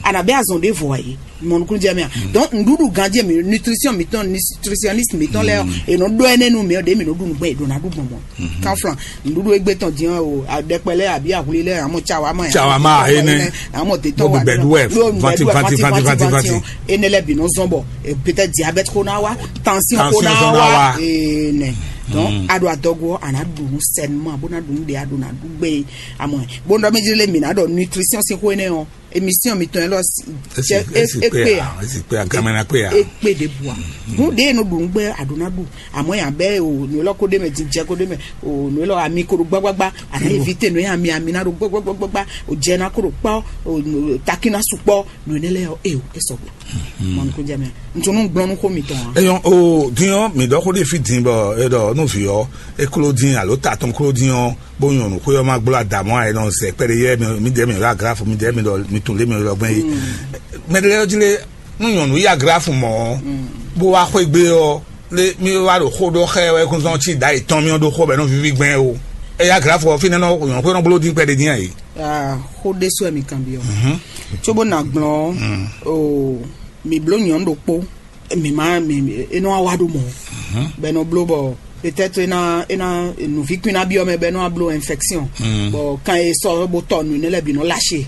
A nǎ bɛ́ azɔn ɖěvo ǎ é. Mɔ nukúnnú jɛ mɛ a? Donc nǔɖuɖu ganjí mi nutrition mǐtɔn nutritionniste mǐtɔn lɛ́ɛ ɔ́, è nɔ ɖó ɛnɛ nú mi ɔ́, ɖě mi nɔ ɖu nǔ gbɛn è ɖǒ ná ɖu gbɔn mɔ̌. Kanflan nǔɖuɖu égbé tɔn din ɔ́, o ɖɛkpɛ lɛ́ɛ àbí ahwli lɛ́ɛ àmọ́ cawa ma Cawa ma, énɛ́. Àmọ́ tètò Bó wà bɛ̀dú wɛ, vanti, vanti, vanti, vanti, vanti. Énɛ́ lɛ́ɛ bǐ nɔ zɔn bɔ peut-être diabète kó ná wá, tension kó ná wá. Énɛ́. Donc a ɖo adɔgo ɔ́, a nǎ ɖu nǔ sɛnumɔ bó ná ɖu nǔ ɖe a ɖo ná ɖu gbé. Àmọ́ bó ná mɛ jlé mi ná ɖɔ nutrition sín xó énɛ́ ɔ́, émission mitɔn élɔ́ é kpé a? Esi kpé a? Gamɛ na kpé a? É kpé ɖěbǔ a? Hǔn ɖě e nɔ ɖu nǔ gbɛ́ a ɖǒ ná ɖu. Àmọ́ yǎ bɛ́ o nǔ élɔ́ kó ɖ'é mɛ, jijɛ kó ɖ'é mɛ, o nǔ élɔ́ ami ko ɖo gbágbágbá, a nǎ évité nǔ e ami ami ná ɖo gbágbágbágbá, o jɛ ná kó ɖo kpɔ́, o takí ná su kpɔ́, nǔ énɛ́ lɛ́ɛ ɔ́, é o é sɔgbe. Mɔnukúnjɛmɛ ntunu gblɔn nú xó mitɔn a? Eyɔn o din ɔ́, mǐ ɖɔ xó ɖé fí din bɔ é ɖɔ nú vǐ ɔ́, é kló dín alo ta tɔn kló dín ɔ́, bó nyɔ̌nu xwé ɔ́ ma gbló adamɔ ǎ, é nɔ zɛ kpɛɖé yɛ mì mì dɛɛ mì ɖɔ aglafo mì dɛɛ mì ɖɔ mì tun lé mì ɖɔ gbɛn yí. Mɛ ɖé lɛ́ɛ ɔ́ jí lé, nú nyɔ̌nu yí aglafo mɔ̌ ɔ́, bó wá xwé gbé ɔ́, lé mì wá ɖo xó ɖɔ xɛ wɛ kún zɔn cí ɖa yětɔn mì ɔ́ ɖó xó bɔ é nɔ víví gbɛn o. É yí aglafo ɔ́ fínɛ́ nɔ nyɔ̌nu xwé nɔ bló dín kpɛɖé dín ǎ é. Ah, xó ɖésú wɛ mi kanbyɔ́. Cóbó ná gblɔn ɔ́, o mi bló nyɔ̌nu ɖokpó, mi ma mi é nɔ wá ɖo mɔ̌. Bɔ é nɔ bló bɔ peut-être é ná é ná nǔví kún ná byɔ́ mɛ bɔ é nɔ wá bló infection. Bɔ kan e sɔ bó tɔ nǔ énɛ́ lɛ́ɛ bǐ nɔ lâché.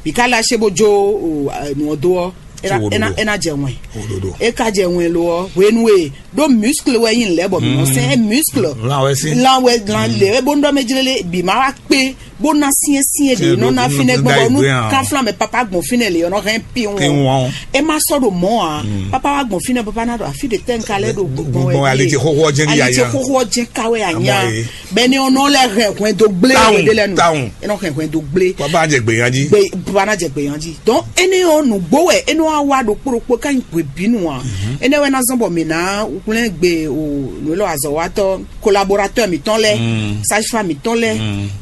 Bǐ ká lâché bó jó o, nǔ ɔ́ dó ɔ́, é ná Cóbó é ná ɖo é ná jɛ wɛn. Òdodo. É ka jɛ wɛn lo ɔ́, hwenu e ɖó muscle wɛ nyí lɛ́ bɔ mǐ nɔ sɛn muscle. Lan wɛ sí. Lan wɛ lan lě e bó nɔ ɖɔ mɛ jlélé bǐ ma wá kpé bó ná syɛ́nsyɛ́n ɖě nɔ ná fínɛ́ gbɔn bɔ nú kanflan mɛ papa gbɔn fínɛ́ lě ɔ́ nɔ hɛn pin Pin wɔn. Wɔn. É má sɔ́ ɖo mɔ̌ ǎ. Papa wá gbɔn fínɛ́, papa ná ɖɔ afí ɖe tɛ́ un ka lɛ́ ɖo gbɔn Gbɔn wɛ ali ɖíe. Ti xoxo ɔ́ jɛ́n Ali ti yaya. Xoxo ɔ́ jɛ́n ka wɛ anya. Amɔ ye. Bɛni ɔ́ nɔ lɛ hɛn hwɛndo gblé Tawun, wɛ ɖe lɛ nu. Tawun. É nɔ hɛn hwɛndo gblé. Baba jɛ gbè yan jí. Gbe baba ná jɛ gbè yan jí. Donc énɛ́ ɔ́ nǔgbó wɛ énɛ́ wá wá ɖokpó ɖokpó ká nyi hwebǐnu ǎ. Énɛ́ wɛ ná zɔ́n bɔ mǐ ná hwlɛ́n gbe o nǔ élɔ́ azɔ̌watɔ́ collaborateur mǐtɔn lɛ́ɛ, sage-femme mǐtɔn lɛ́ɛ,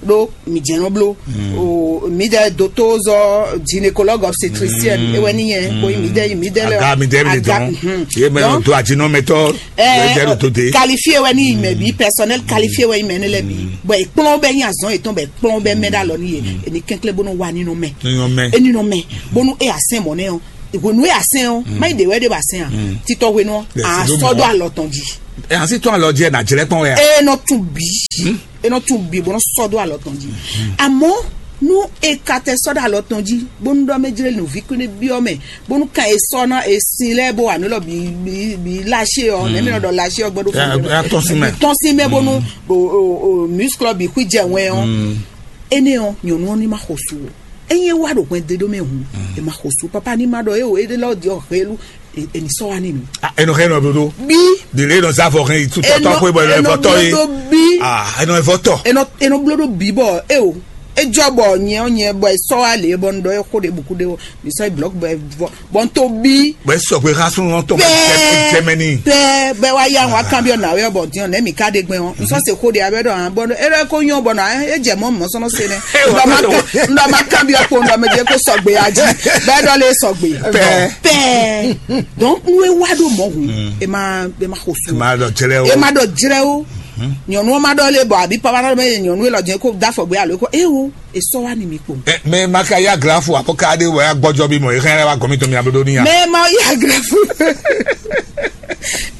ɖó mǐ jɛ́n nɔ bló. O mǐdɛɛ dotozɔ gynécologue obstétricienne, é wɛ ní nyɛ, bó mǐdɛɛ mǐdɛɛ lɛ Aga mi dɛ mi dɔn. Ye mɛ Donc, do ajinɔ mɛ tɔ. Ye dɛ do de. Qualifié wɛ ní mɛ bí, personnel qualifié wɛ ní mɛ ne lɛ bí. Bon, ekplɔn bɛ nyí azɔn etɔn bɛ ekplɔn bɛ mɛ ɖe alɔ ní ye. Eni kɛnklɛn bónú wa nínú mɛ. Nínú mɛ. Enínú mɛ. Bónú e asɛn mɔ nɛ o. Ìwé nú e asɛn o. Má yi de wɛ de ba sɛn a. Titɔ hwenu. Yes, a ló sɔ do mɔ. Alɔ tɔn jí. Ɛ hàn sí tún àlọ́ jẹ́ nàjẹ́lẹ́ pọ́n wẹ́ à. E nɔ tún bí. E nɔ tún bí bónú sɔ do alɔ tɔn jí. Àmọ́ nú e ka tɛ sɔ do alɔ tɔn jí bónú dɔ mɛ jlɛ nù vi kúnú bí ɔ mɛ bónú kan e sɔ ná e sin lɛ bó wà nílò bí bí bí láṣẹ ọ nẹ́mi nɔ dɔ láṣẹ ọ gbọ́dọ̀ fún mi. Tɔn sí mɛ. Tɔn sí mɛ bónú o o o muscle bí kú jẹ wɛn ọ. Ene ọ nyɔnu ọ ní ma xɔ su o. Enyi wa ɖo hwɛn de ɖó mɛ hùn. E ma xɔ su papa ní ma ɖɔ e o e lɔ di ọ helu. Eni sɔ wa ní mi. Enɔ hɛn nɔ dodo. Bí. Dèlè enɔ zá fɔ hɛn itú tɔtɔ pé bɔ enɔ fɔ tɔ ye. Enɔ bí. Ah, enɔ fɔ tɔ. Enɔ enɔ bló ɖó bí bɔ e o. Ejɔ bɔ nyɛ ɔ nyɛ bɔ esɔ wa lè bɔ n dɔ exo ɖe buku ɖe o. Mi sɔ blɔk bɔ evɔ bɔ n to bí. Bɛ sɔgbe ha sun lɔn tɔ bɛ jɛmɛni. Bɛ bɛ wa ya wa kan bi ɔna wɛ bɔ diɔn nɛ mi ka de gbɛn o. N sɔ se xo de abɛ dɔ hàn bɔ e dɔ ko nyɔ bɔ na e jɛ mɔ mɔ sɔnɔ se nɛ. N dɔ ma kan bi ɔkpo n dɔ mɛ de ko sɔgbe aji. Bɛ dɔ le sɔgbe. Pɛ. Pɛ. Donc nu e wa ɖo mɔ hu. E ma e ma xo su. E ma dɔ jɛlɛ o. E ma dɔ jɛlɛ o. Nyɔnu ma dɔ le bɔ abi papa dɔ mɛ nyɔnu e lɔ jɛ ko da fɔ gbe alo ko e wo. Esɔ wa ni mi kpo. Ɛ, mɛ ma ka ya gra fo abɔ ka de wɛ agbɔjɔ bi mɔ e hɛn wa gɔmi to mi ablo ni ya. Mɛ ma ya gra fo.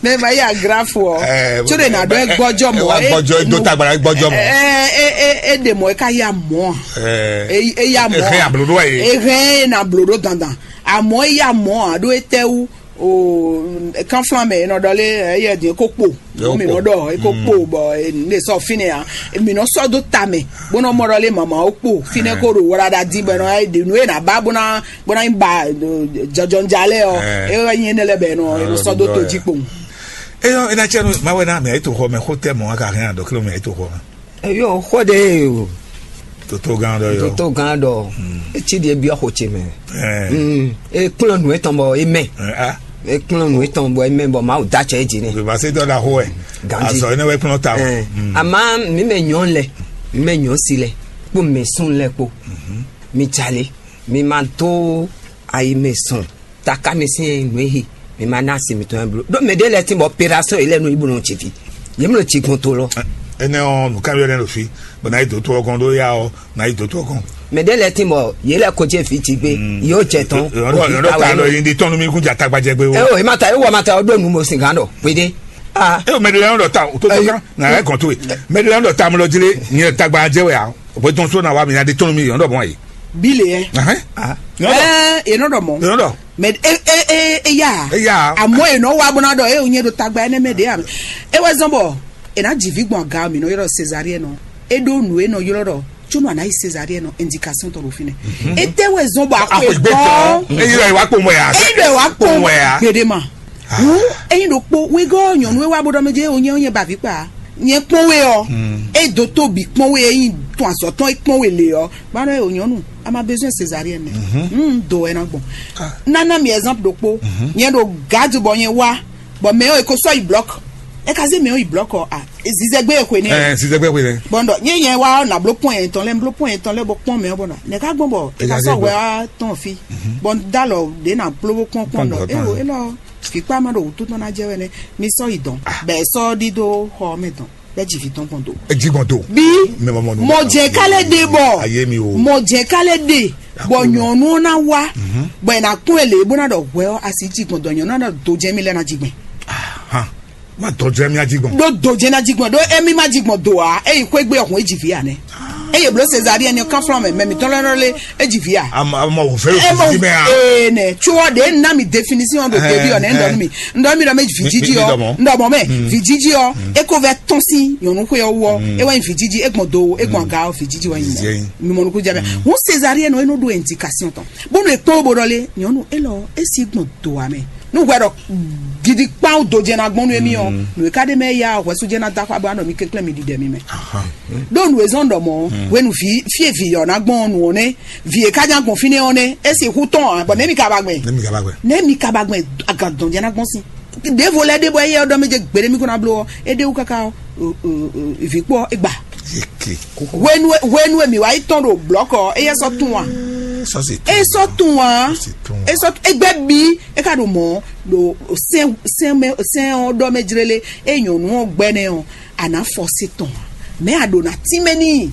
Ne ma yi agrafu ɔ. Tso de na dɔ egbɔjɔ mɔ. Wa gbɔjɔ do tagbara gbɔjɔ mɔ. Ɛ ɛ ɛ ɛ de mɔ eka ya mɔ. Ɛ ɛ ya mɔ. Ehɛn ablodo wa ye. Ehɛn na blodo dandan. Amɔ eya mɔ a ɖo etɛwu. O kanflan mɛ enɔ dɔ le eye din eko kpo. Mi nɔ dɔ eko kpo bɔ ne sɔ fine ya. Mi nɔ sɔ do ta mɛ. Bonɔ mɔ dɔ le mama o kpo fine ko do wala da di bɔ enɔ de nu e na ba bona bona nyi ba jɔjɔnjalɛ ɔ. E wɛ nyi ne lɛ bɛ enɔ enɔ sɔ do to ji kpo. Eyɔ ena tsɛ nu ma wɛ na mɛ eto xɔ mɛ xo tɛ mɔ aka hɛn adɔ kilo mɛ eto xɔ mɛ. Eyɔ xɔ de o. Toto gan dɔ yɔ. Toto gan dɔ. Etsi de biɔ xo tse mɛ. E kplɔn nu etɔn bɔ e mɛ. E kplɔn nu etɔn bɔ e mɛ bɔ ma o da tsɛ e dzi ne. Bébà se dɔ da xo wɛ. Ganji. Azɔ ene wɛ kplɔn ta o. Ama mi mɛ nyɔn lɛ, mi mɛ nyɔn si lɛ, kpo mɛ sun lɛ kpo. Mi jale, mi ma do ayi mɛ sɔn. Taka mi sin nǔ e hi mi ma ná asi mitɔn blo ɖó mɛ ɖé lɛ́ɛ tín bɔ opération yi lɛ́ɛ nú yi bó nɔ tsi fi yě mlɔ tsi gbɔn to lɔ. Énɛ́ ɔ́, nǔkanbyɔ́ ɖé ɖo fí, bɔ ná yi dǒ to ɔgɔn ɖó ya ɔ́, ná yi dǒ to ɔgɔn. Mɛ ɖé lɛ́ɛ tín bɔ yě lɛ́ɛ ko jɛ fí tsi gbé yóò jɛ tɔn. Yɔ̀dọ̀ ta lɔ yìí di tɔnu mi kún jà tagbajɛ gbé o. Ɛ o ema ta ewɔ ma ta ɔdó nu mo sin gán dɔ pédé. Ah. E o mɛ ɖé lɛ́ɛ ɖɔ ta o tó tó kán nà ɛ gɔn tó e. Mɛ ɖé lɛ́ɛ ɖɔ ta mo lɔ jílé nyɛ tagbajɛ wɛ a o bɛ tɔn so na wa mi na di tɔnu mi yɔ̀dọ̀ mɔ yìí. Bí le yɛ. Ahɛn. Ah. Ɛ yẹn nɔ dɔ mɔ. Yɔ̀dọ̀. Mɛ e e e e ya. Eya. Àmọ́ yẹn nɔ wa bɔ na dɔ e o nyɛ ɖo tagba ɛnɛ mɛ ɖe ya. E wɛ zɔn bɔ e na dzi vi gbɔn aga mi nɔ yɔrɔ césarienne nɔ. E ɖo nu e nɔ yɔrɔ dɔ tso nɔ ana yi césarienne nɔ indication tɔ ɖo fi nɛ. E tɛ wɛ zɔn bɔ akɔ Akɔ ìgbé ìgbɔ. Tán. Eyi lɔ ìwà kpɔn mɔ ya. Eyi lɔ ìwà kpɔn. Mɔ ya. Gbedema. Wu eyi ɖo kpo wegɔ nyɔnu e wa bɔ dɔ mɛ dze o nyɛ o nyɛ bavi kpa. Nyɛ kpɔn we ɔ. E do to bi kpɔn we eyi tɔn azɔtɔn e kpɔn we le ɔ. Bana o nyɔnu a ma besoin césarienne. Mm, do wɛ na gbɔn. Nana mi exemple ɖokpo. Nyɛ ɖo garde bɔ nyɛ wa bɔ mɛ o e ko sɔ yi bloc. E ka se mɛ o yi bloc ɔ a zizɛgbe e xwe ne. Ɛ sizɛgbɛ xwe lɛ. Bɔn dɔ nye nyɛ wa na blo pɔn yɛn tɔn lɛ blo pɔn yɛn tɔn lɛ bɔ pɔn mɛ bɔ na ne ka gbɔn bɔ e ka sɔ wɛ a tɔn fi. Bɔn dalɔ de na blo bo kpɔn kpɔn dɔ e o e lɔ fikpa ma ɖo wutu tɔn na jɛ wɛ ne mi sɔ yi dɔn bɛ sɔ ɖi do xɔ mɛ dɔn. Bɛ dzi vi tɔn gbɔn do. Edzi gbɔn do. Bi mɛ mɔ mɔ mɔ jɛ k'ale de bɔ. Aye mi o. Mɔ jɛ k'ale de bɔ nyɔnu na wa bɔ ena kún ele bó na dɔ hwɛ ɔ asi dzi gbɔn dɔ nyɔnu na dɔ do jɛ mi lɛ na dzi gbɛn. Hàn má tɔjú ẹ̀mí ají gbọ̀n. Ɖó dojɛ́ ná jí gbɔn ɖó émí má jí gbɔn do ǎ, eyi xwé gbé ọ̀hún é jì vǐ ǎ nɛ́. Eye blǒ Sezalíɛ ní kánflán mɛ, mɛ mǐtɔn lɛ́ɛ lé é jì vǐ ǎ. Àmọ́ àmọ́ wò fẹ́ ló fi sí mẹ́ a. Ee nɛ, tso ɔ ɖe ná mi définition ɖo débi ɔ nɛ, ŋdɔ mi ŋdɔ mi ɖɔ mɛ vǐ jíjí ɔ, ŋdɔ mɔ mɛ vǐ jíjí ɔ, é kó vɛ tɔn sín nyɔ̌nu xwé ɔ wú ɔ, é wɛ nyí vǐ jíjí, é gbɔn do, é gbɔn aga ɔ, vǐ jíjí wɛ nyí mɛ. Mi mɔ nukún jɛ mɛ. Ŋu Sezalíɛ nɔ é nɔ ɖo indication tɔn. Bónú è kpɔ́n bó ɖɔ lé, nyɔ̌nu élɔ́ é sí gbɔn do ǎ mɛ. Nú hwɛ ɖɔ gidi kpán do jɛ ná gbɔn nú émí ɔ́, nǔ e ka ɖ'é mɛ ya hwɛsú jɛ ná dó axwá bɔ anɔ mi kɛnklɛ́n mi ɖiɖɛ mi mɛ. Ɖó nǔ e zɔ́n ɖɔ mɔ̌ hwenu vǐ fí e vǐ yɔ̌ ná gbɔn ɔ́, nǔ ɔ́ nɛ́, vǐ e ka ná gbɔn fínɛ́ ɔ́ nɛ́, é sixú tɔn ǎ, bɔ nɛ̌ mi ka ba gbɛn? Nɛ̌ mi ka ba gbɛn? Nɛ̌ mi ka ba gbɛn? Agǎn dɔn jɛ ná gbɔn sín. Ɖěvo lɛ́ɛ ɖé bɔ éyɛ́ ɔ́ ɖɔ mɛ jɛ gbeɖé mi kó ná bló ɔ́, é ɖé wú káká ɔ́, vǐ kpó ɔ́, é gba. Hwenu e- hwenu e mǐ wá yi tɔn ɖo blɔ̌kɔ ɔ́, éyɛ́ sɔ́ tún ǎ. Sɔ́ sì tún. É sɔ́ tún ǎ. Sɔ́ sì tún. É sɔ́ é gbɛ́ bí é ka ɖo mɔ̌ ɖo sɛn sɛn mɛ sɛn ɔ́ ɖɔ mɛ jlélé é nyɔ̌nu ɔ́ gbɛ́ nɛ́ ɔ́, a nǎ fɔ sí tɔn ǎ. Mɛ̌ a ɖǒ ná tínmɛ n'i?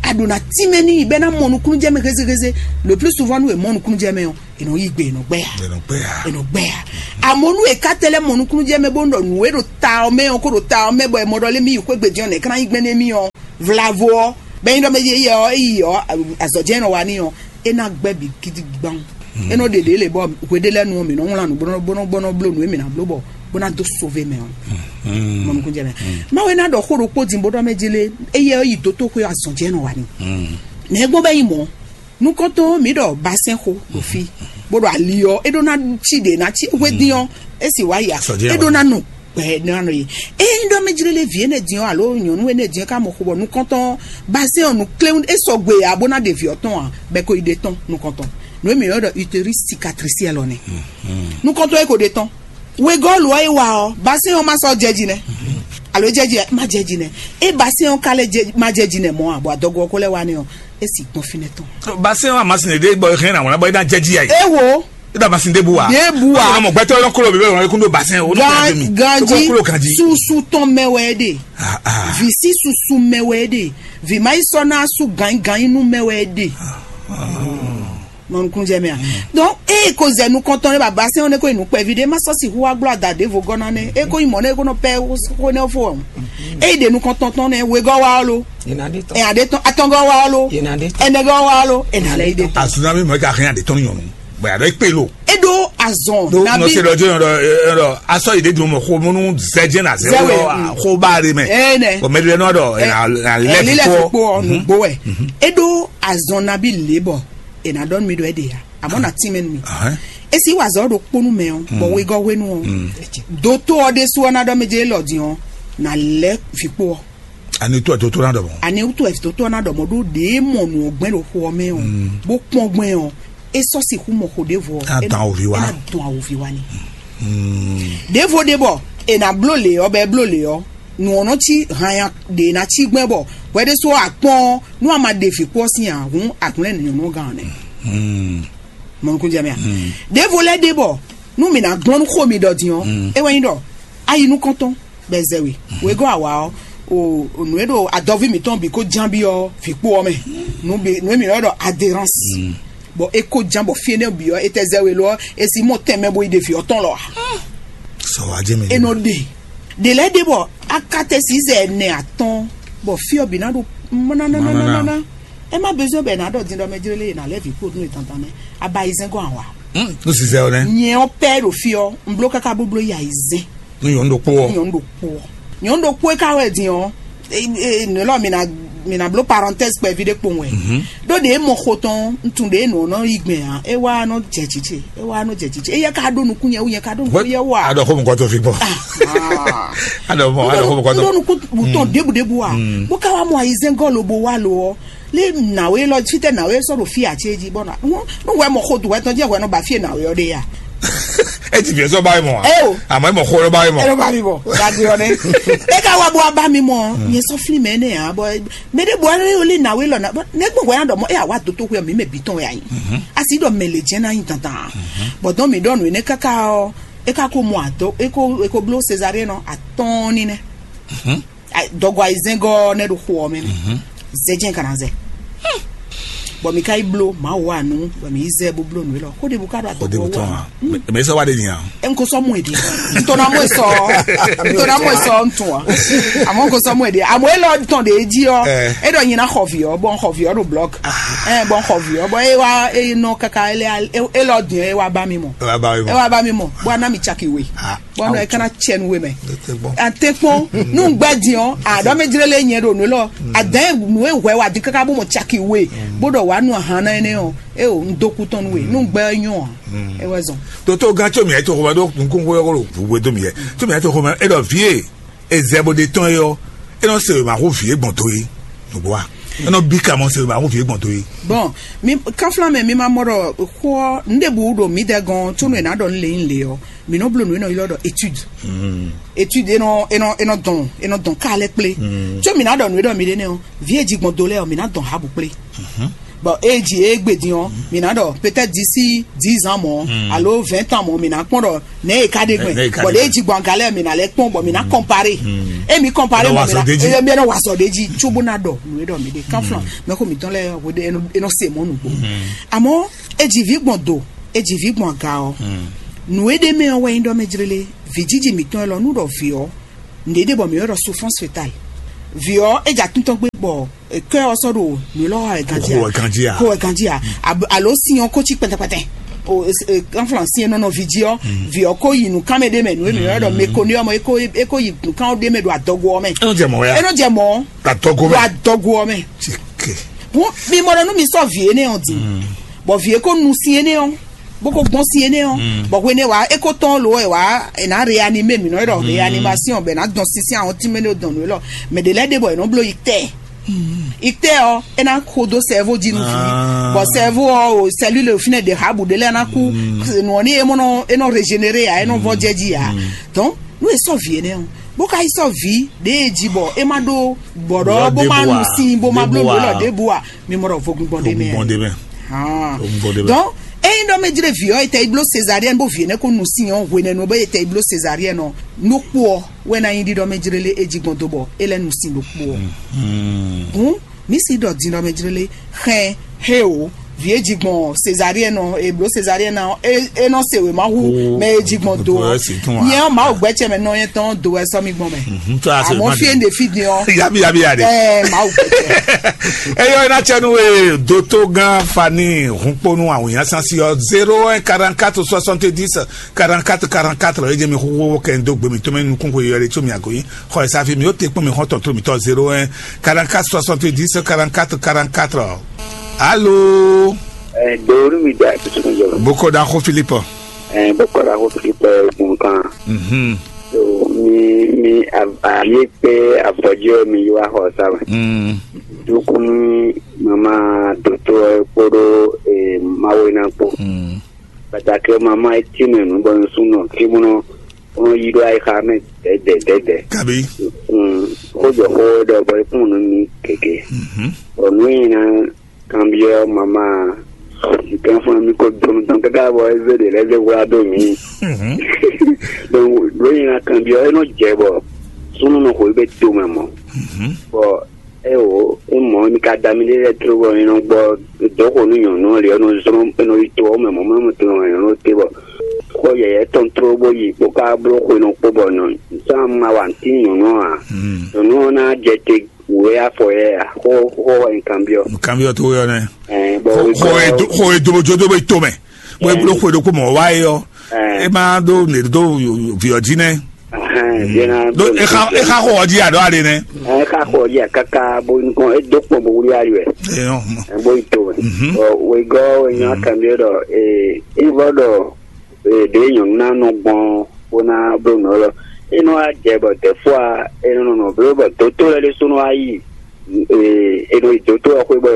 A ɖǒ ná tínmɛ n'i bɔ é ná mɔ nukúnnú jɛ mɛ hézéhézé. Le plus souvent nú è mɔ nukúnnú jɛ mɛ ɔ́, è nɔ yí gbe, è nɔ gbɛ ya. È nɔ gbɛ ya. È nɔ gbɛ ya. Àmọ́ nú è ká tɛ́ lɛ́ mɔ nukúnnú jɛ mɛ bó nɔ ɖɔ nǔ e ɖo ta ɔ́ mɛ ɔ́ kó ɖo ta ɔ́ mɛ bɔ è mɔ ɖɔ lé mì yi xwé gbe din ɔ́, nɛ̌ ká ná yí gbɛn nú émí ɔ́? Vlavo ɔ́, bɛ́ nyí ɖɔ mɛ yeyɛ ɔ́, é yi ɔ́, azɔ̌ jɛ́n é nɔ wa n'i ɔ́, é ná gbɛ́ bǐ gidi gbawun. É nɔ ɖe ɖě lě bɔ hweɖé lɛ́ɛ nu ɔ́, mǐ nɔ wlán nǔ bó nɔ bó nɔ bó nɔ bló nǔ e mǐ ná bló bɔ bó ná dó sóvé mɛ ɔ́. Mɔ nukúnnú jɛ mɛ. Mawu e ná ɖɔ xó ɖokpó din bó ɖɔ mɛ jélé, éyɛ́ ɔ́ yi dótóxwé ɔ́, azɔ̌ jɛ́n é nɔ wa n'i. Nɛ̌ gbɔn bɔ é nyí mɔ̌? Nukɔntɔn mǐ ɖɔ basɛ́n xo ɖo fí, bó ɖo ali ɔ́, é ɖó ná cí ɖě ná cí hwedín ɔ́, é sì wá ya, é ɖó ná nɔ gbɛ ná nɔ yi. Ényí ɖɔ mɛ jlélé vǐ énɛ́ din ɔ́, alo nyɔ̌nu énɛ́ din ɔ́, ká mɔ xo bɔ nukɔntɔn basɛ́n ɔ́, nǔ kléwún é sɔgbe ǎ bó ná ɖe vǐ ɔ́ tɔn ǎ, bɔ é ko yi ɖe tɔn nukɔntɔn. Nǔ e mǐ ylɔ́ ɖɔ utérus cicatriciel ɔ́ nɛ́. Nukɔntɔn é ko ɖe tɔn. Wegɔ́ɔlu ɔ́ é wa ɔ́, basɛ́n ɔ́ má sɔ́ jɛ jí nɛ́, alo é jɛ jí má jɛ jí nɛ́. É basɛ́n ɔ́ ka lɛ́ jɛ má jɛ jí nɛ́ mɔ̌ ǎ, bɔ adɔgo ɔ́ ko lɛ́ wá nɛ́ ɔ́, é sì gbɔn fínɛ́ tɔn. Basɛ́n ɔ́ amasin ɖě bɔ é hɛn ná wlán bɔ é ná jɛ jí ǎ. É wo. É ɖo amasin ɖěbǔ wa. Ɖěbǔ wa. Ɔmɔ gbɛtɔ lɔ kolo bɛ ɔmɔ kúndó basɛn o. Gan ganji. Kúndó ganji. Susu tɔn mɛ wɛ é ɖe. Visi susu mɛ wɛ é ɖe. Vima yi sɔ na su gan gan inú mɛ wɛ é ɖe. Mɔ nukúnnú jɛ mɛ a? Donc eye ko zɛ nukɔntɔn ne baba sɛn ne ko yi nukpɛvi ɖe ma sɔ si hu wa gblɔ ada ɖe vo gɔna ne e ko yi mɔ ne ko nɔ pɛ ko ne fo. Eye ɖe nukɔntɔn tɔn ne wegɔ wa lo. Ena ɖe tɔn. Ena ɖe tɔn atɔngɔ wa lo. Ena ɖe tɔn. Enegɔ wa lo. Ena lɛ yi ɖe tɔn. Asunami mɔ ka hɛn aɖe tɔn nyɔnu. Bɔn yàrá ikpe lo. E ɖo azɔn. Ɖo nabi nɔ se ɖɔ jɔ ɖɔ ɖɔ asɔ yi ɖe dun mɔ xo mɔnu zɛjɛ na zɛ Zɛwɛ, wɔ mm. Xo ba ɖe mɛ. Ene. O mɛ ɖe nɔ ɖɔ ena lɛ fi kpɔ. Lilɛ fi kpɔ nugbo wɛ. E ɖo azɔn nabi le bɔ ena dɔn mi ɖɔ e ɖe ya. Amɔ na ti mɛ nu mi. Esi wa zɔ ɖo kponu mɛ ɔ bɔ wegɔ wenu ɔ. Doto ɔ ɖe su ɔ na ɖɔ mi dze lɔ din ɔ na lɛ fi kpɔ ɔ. Ani tó ɛ tó tó ná ɖɔ mɔ. Ani tó ɛ tó tó ná ɖɔ mɔ ɖó ɖe mɔ nù ɔgbɛn ɖo xo ɔ mɛ ɔ bó kpɔn gbɛn ɔ e sɔ si xú mɔ xo ɖe vɔ. Ena dɔn awovi wa. Ena dɔn awovi wa ni. Ɖevo ɖe bɔ ena blo le ɔ bɛ blo le ɔ nù ɔnɔ ci hanya ɖe na ci gbɛn bɔ hwɛ ɖe so akpɔn nú a ma ɖe fi kpɔ sin ahun akunlɛ nyɔnɔ gan nɛ. Mɔnukun jɛ mɛ a. Ɖevo lɛ ɖe bɔ nú mi na gblɔn nú xo mi ɖɔ din ɔ e wɛ nyi ɖɔ ayi nukɔntɔn bɛ zɛ we wegɔ awa ɔ o nù e ɖo adɔvi mitɔn bi ko jan bi ɔ fi kpo ɔ mɛ nù bi nù e mi yɔ ɖɔ adherence bɔn e ko jan bɔ fi ne bi ɔ e tɛ zɛ we lɔ e si mɔ tɛmɛ bo yi ɖe fi ɔtɔn lɔ a. Sɔ wa jɛ mi. E nɔ ɖe ɖe lɛ ɖe bɔ akatɛ si zɛ ɛnɛ atɔn bɔ fi ɔ bi na ɖo mana mana mana mana e ma besoin bɛ na ɖɔ din ɖɔ mɛ jere le na lɛ vi kpo nu e dandan nɛ aba yi zɛn gɔn awa. Nu si zɛ ɔ nɛ. Nyɛ ɔ pɛ ɖo fi ɔ n blo kaka boblo yi ayi zɛn. Ní nyɔ̌nu ɖokpó ɔ́. Nyɔ̌nu ɖokpó ɔ́. Nyɔ̌nu ɖokpó é ka wɛ din ɔ́. Nǔ lɔ mi na mi na bló parenthèse kpɛví ɖé kpowun wɛ. Ɖó ɖě mɔ xo tɔn ntun ɖě nǔ ɔ́ nɔ yí gbɛn ǎ. É wá nɔ jɛ jǐ ce. É wá nɔ jɛ jǐ ce. Éyɛ́ ka ɖó nukún nyɛ wú nyɛ ka ɖó nukún yɛ wú a. Aɖɔ xó mɔkɔ tó fi gbɔ. Aɖɔ mɔ aɖɔ xó mɔkɔ tó. Ɖó nukún tɔn ɖěbǔ ɖěbǔ a. Bó ká wá mɔ ayizɛ́ngɔ́ lobo wá lo ɔ́. Lé nǎwe lɔ fítɛ́ nǎwe sɔ́ ɖo fí ǎ cé jí bɔ nɔ nú wɛ mɔ xo dùn wɛ tɔn jẹ́ wɛ nɔ ba fí nǎwe ɔ́ ɖe ya. Eti fi sɔ ba yi mɔ. Eo. Àmọ́ ẹ mɔ xo ló ba yi mɔ. Ẹ ló ba mi mɔ dagbe ɔ́ nɛ. E ka wá bó wá bá mi mɔ nyɛ sɔ fli mɛ nɛ ya bɔ mɛ ɖe bɔ ɛ yɔ lé nǎwe lɔ na bɔ ne gbɔn wɛ ya dɔ mɔ e awa doto wɛ mi mɛ bi tɔn wɛ ayi. Asi dɔ mɛ le jɛ na yi dandan. Bɔ dɔn mi dɔ nu ne kaka ɔ e ka ko mɔ atɔ e ko e ko blo Césarée nɔ atɔn ni nɛ. Dɔgɔ ayizɛngɔ ne ɖo xo ɔ mɛ nɛ zɛjɛ kana zɛ bɔn mi ka yi blo ma wa nu bɔn mi yi zɛ bo blo nu lɔ ko de bu ka ɖo adɔgɔ wa. Mɛ sɔ wa de nya. N ko sɔ mu edi n to na mu esɔ n to na mu esɔ n tun wa àmọ́ n ko sɔ mu edi àmọ́ elɔ tɔn de edzi ɔ e dɔ nyina xɔ vi ɔ bɔn xɔ vi ɔ ɖo blɔk ɛ bɔn xɔ vi ɔ bɔn e wa e nɔ kaka elɔ diɛ e wa ba mi mɔ e wa ba mi mɔ bɔn ana mi tsaki we. Bɔn nɔ e kana tsɛ nu we mɛ. Atɛkpɔn nu gbɛ din ɔ aɖɔ mɛ jire le nyɛ ɖo nu lɔ adɛn nu e hwɛ wa di kaka bó mɔ caki we bó ɖɔ wa nu ahan na ɛnɛ ɔ e o n do ku tɔn nu we nu gbɛ nyɔ a e wɛ zɔn. Toto gan tso miɛ to xɔmɛ ɖo nukun xɔ yɔkɔ ɖo we do miɛ tso miɛ to xɔmɛ e ɖɔ vie ezɛ bo de tɔn yɔ e nɔ se ma xo vie gbɔn to ye nugbo wa e nɔ bi ka mɔ se ma xo vie gbɔn to ye. Bɔn mi kanflan mɛ mi ma mɔ ɖɔ xɔ n ɖe bu ɖo mi dɛ gɔn tso nu e na ɖɔ n le n le ɔ. Mi nɔ bló nǔ e nɔ ylɔ́ ɖɔ étude. Étude e nɔ e nɔ e nɔ dɔn e nɔ dɔn ká lɛ́ kplé. Có mi ná ɖɔ nǔ e ɖɔ mi ɖe nɛ́ ɔ́, vǐ e ji gbɔn do lɛ́ɛ ɔ́, mi ná dɔn hǎbǔ kplé. Bɔ ée ji é gbe din ɔ́, mi ná ɖɔ peut-être d'ici dix ans mɔ̌ alo vingt ans mɔ̌, mi ná kpɔ́n ɖɔ nɛ̌ e ka ɖe gbɛn. Bɔ ɖě e ji gbɔn aga lɛ́ɛ, mi ná lɛ́ kpɔ́n, bɔ mi ná kɔnparé. É mi kɔnparé mɔ, mi ná mi ná wá sɔ ɖ'é jí, cóbó ná ɖɔ nǔ e ɖɔ mi ɖe. Kánflán mɛxó mǐtɔn lɛ́ɛ hweɖé é nɔ se mɔ̌ nǔgbó. Àmọ́ é ji vǐ gbɔn do, é ji vǐ gbɔn aga ɔ́, nǔ e ɖ'é mɛ ɔ́ wɛ nyí ɖɔ mɛ jlélé. Vǐ jiji mǐtɔn élɔ́ nú ɖɔ vǐ ɔ́, nǔɖé ɖe bɔ mǐ wɛ ɖɔ souffrance fétale. Vǐ ɔ́, é ja tún tɔn gbé bɔ kɛ ɔ́ sɔ́ ɖo nǔ élɔ́ wa wɛ ganjí a? Kó wɛ ganjí a? Alo sin ɔ́ kó cí kpɛtɛkpɛtɛ. Kanflan sin e nɔ nɔ vǐ jí ɔ́, vǐ ɔ́ kó yi nǔkánmɛ ɖé mɛ, nǔ e mǐ wɛ ɖɔ mekoni ɔ́ mɔ, é kó yi nǔkán ɖé mɛ ɖo adɔgo ɔ́ mɛ. É nɔ jɛ mɔ̌ wɛ. É nɔ jɛ mɔ̌. Adɔgo wɛ. Ɖo adɔgo ɔ́ mɛ. Bɔn mi mɔ ɖɔ nú mi sɔ́ vǐ énɛ́ ɔ́ din, bɔ vǐ é kó nu sin énɛ́ ɔ́, bó kó gbɔn sin énɛ́ ɔ́, bɔ hwenɛ́ wǎ é kó tɔ́n lo ɛ wá, è nǎ reanimé mǐ nɔ ɖɔ reanimation bɛ nǎ dɔn sínsɛ́n àwọn tínmɛ ɖo dɔn nǔ élɔ́. Mɛ ɖě lɛ́ɛ ɖe bɔ è nɔ bló yi tɛ. Yi tɛ ɔ́, é ná xo dó sɛvo jí nú vǐ. Bɔ sɛvo ɔ́, o sɛlúle fínɛ́ ɖě xá bǔ ɖé lɛ́ɛ ná kú. Nǔ ɔ́ ní é mɔ nɔ é nɔ régénéré ǎ, é nɔ vɔ jɛ jí ǎ. Donc nú è sɔ́ vǐ énɛ́ ɔ́, bó ka yi sɔ́ vǐ ɖě e jí bɔ é má ɖó gbɔ̌ɖɔ bó má nu sin bó má bló nǔ élɔ́ ɖěbǔ a, mi mɔ ɖɔ vogbingbɔn ɖé mɛ. Vogbingbɔn ɖé mɛ. Vogbingbɔn ɖé mɛ. Donc eyi ɖɔ mɛ jlé vǐ ɔ́, etɛ yi bló Césarienne bó vǐ énɛ́ kó nu sin ɔ́ hwenɛ́nu bó etɛ yi bló Césarienne ɔ́, nukpó ɔ́ wɛ ná nyí ɖiɖɔ mɛ jlélé é jí gbɔn dó bɔ é lɛ́ nu sin ɖokpó ɔ́. Hǔn mǐ si ɖɔ din ɖɔ mɛ jlélé xɛ he o. Vǐ e ji gbɔn Césarienne ɔ́, e blǒ Césarienne ɔ́, é é nɔ se wěma hú mɛ e ji gbɔn do ɔ́. Nyɛ ɔ́, Mawu gbɛ́ ce mɛ nɔ nyɛ tɔn do wɛ sɔ́ mi gbɔn mɛ. Àmọ́ fí e ɖe fí din ɔ́, yabi yabi ya de. Ɛ Mawu gbɛ́ ce. Eyɔ ina cɛnu e doto gan fani hunkponu awunya sansi ɔ zéro un quarante-quatre soixante-dix quarante-quatre quarante-quatre. Ejemi huhu kɛ ndo gbemi tome nukun ko yɔ de tso mi agoyi. Xɔ esa fi mi o te kpɔn mi xɔ tɔn tro mi tɔ zéro un quarante-quatre soixante-dix quarante-quatre quarante-quatre. Alo. Ɛ dori mi da kutu mi jɔ. Boko da ko Philippe. Ɛ boko da ko Philippe kun kan. Mhm. So mi mi a- a ye pe afɔjɔ mi yi wa xɔ sa mɛ. Mm. Dukun mama doto kpoɖo ɛ mawe na kpo. Mm. Pàtàkì mama etí mɛ nu bɔ nsúnɔ kí múnɔ wọn yi ɖó ayixa mɛ dɛdɛ dɛdɛ. Kabi. Mm. Xójɔ xó ɖɔ bɔ ekún nu mi kéke. Mhm. Bɔ nu yi na kanbyɔ mama. Nkan fún mi ko donu tán káká bɔ eze ɖe lɛ lɛ wla dó mi. Mhm. Donc ɖó yi na kanbyɔ e nɔ jɛ bɔ súnú nɔ xo yi bɛ to mɛ mɔ. Mhm. Bɔ e wo e mɔ mi ka da mi ɖe lɛ tró bɔ mi nɔ gbɔ dɔxɔ nu nyɔnu ɔ́ li ɔ́ nɔ zlɔn e nɔ yi to ɔ́ mɛ mɔ mɛ mɔ to nɔ nyɔnu te bɔ xɔ yɛyɛ tɔn tró bó yi kpó ká bló xwe nɔ kpó bɔ nɔ sán ma wa ntín nyɔnu ɔ́ a. Mhm. Nyɔnu ɔ́ ná jɛ te wǔ é afɔ yɛ a xó xó wɛ nkan byɔ. Nkan byɔ tó yɔ nɛ. Ɛɛ bɔ xɔ xɔ e do xɔ e dobojo dó bɛ to mɛ. Wọ́n ebúló xwe ɖokpó mɔ̌ wá é ɔ́, é má ɖó nǔ e ɖó vǐ ɔ́ jí nɛ́. Ɖó é xa é xa xɔ ɔ́ jí aɖɔ́ aɖe nɛ́. Ɛ xa xɔ ɔ́ jí akáká bó nukɔn é dó kpɔn bó wlí ali wɛ. Eyɔn. Ɛ bó yi to wɛ. Mhm. Ɔ wegɔ́ wɛ nyɔ akɛmɛ ɖɔ ee é vɔ ɖɔ ee ɖě nyɔ̌nu ná nɔ gbɔn bó ná bló nǔ ɔ́ lɔ. É nɔ wá jɛ bɔ dɛ̌fó a é nɔ nɔ bló bɔ dǒtó lɛ́ɛ ɖésú nɔ wá yi. Ee, è nɔ yi dǒtó ɔ́ xwé bɔ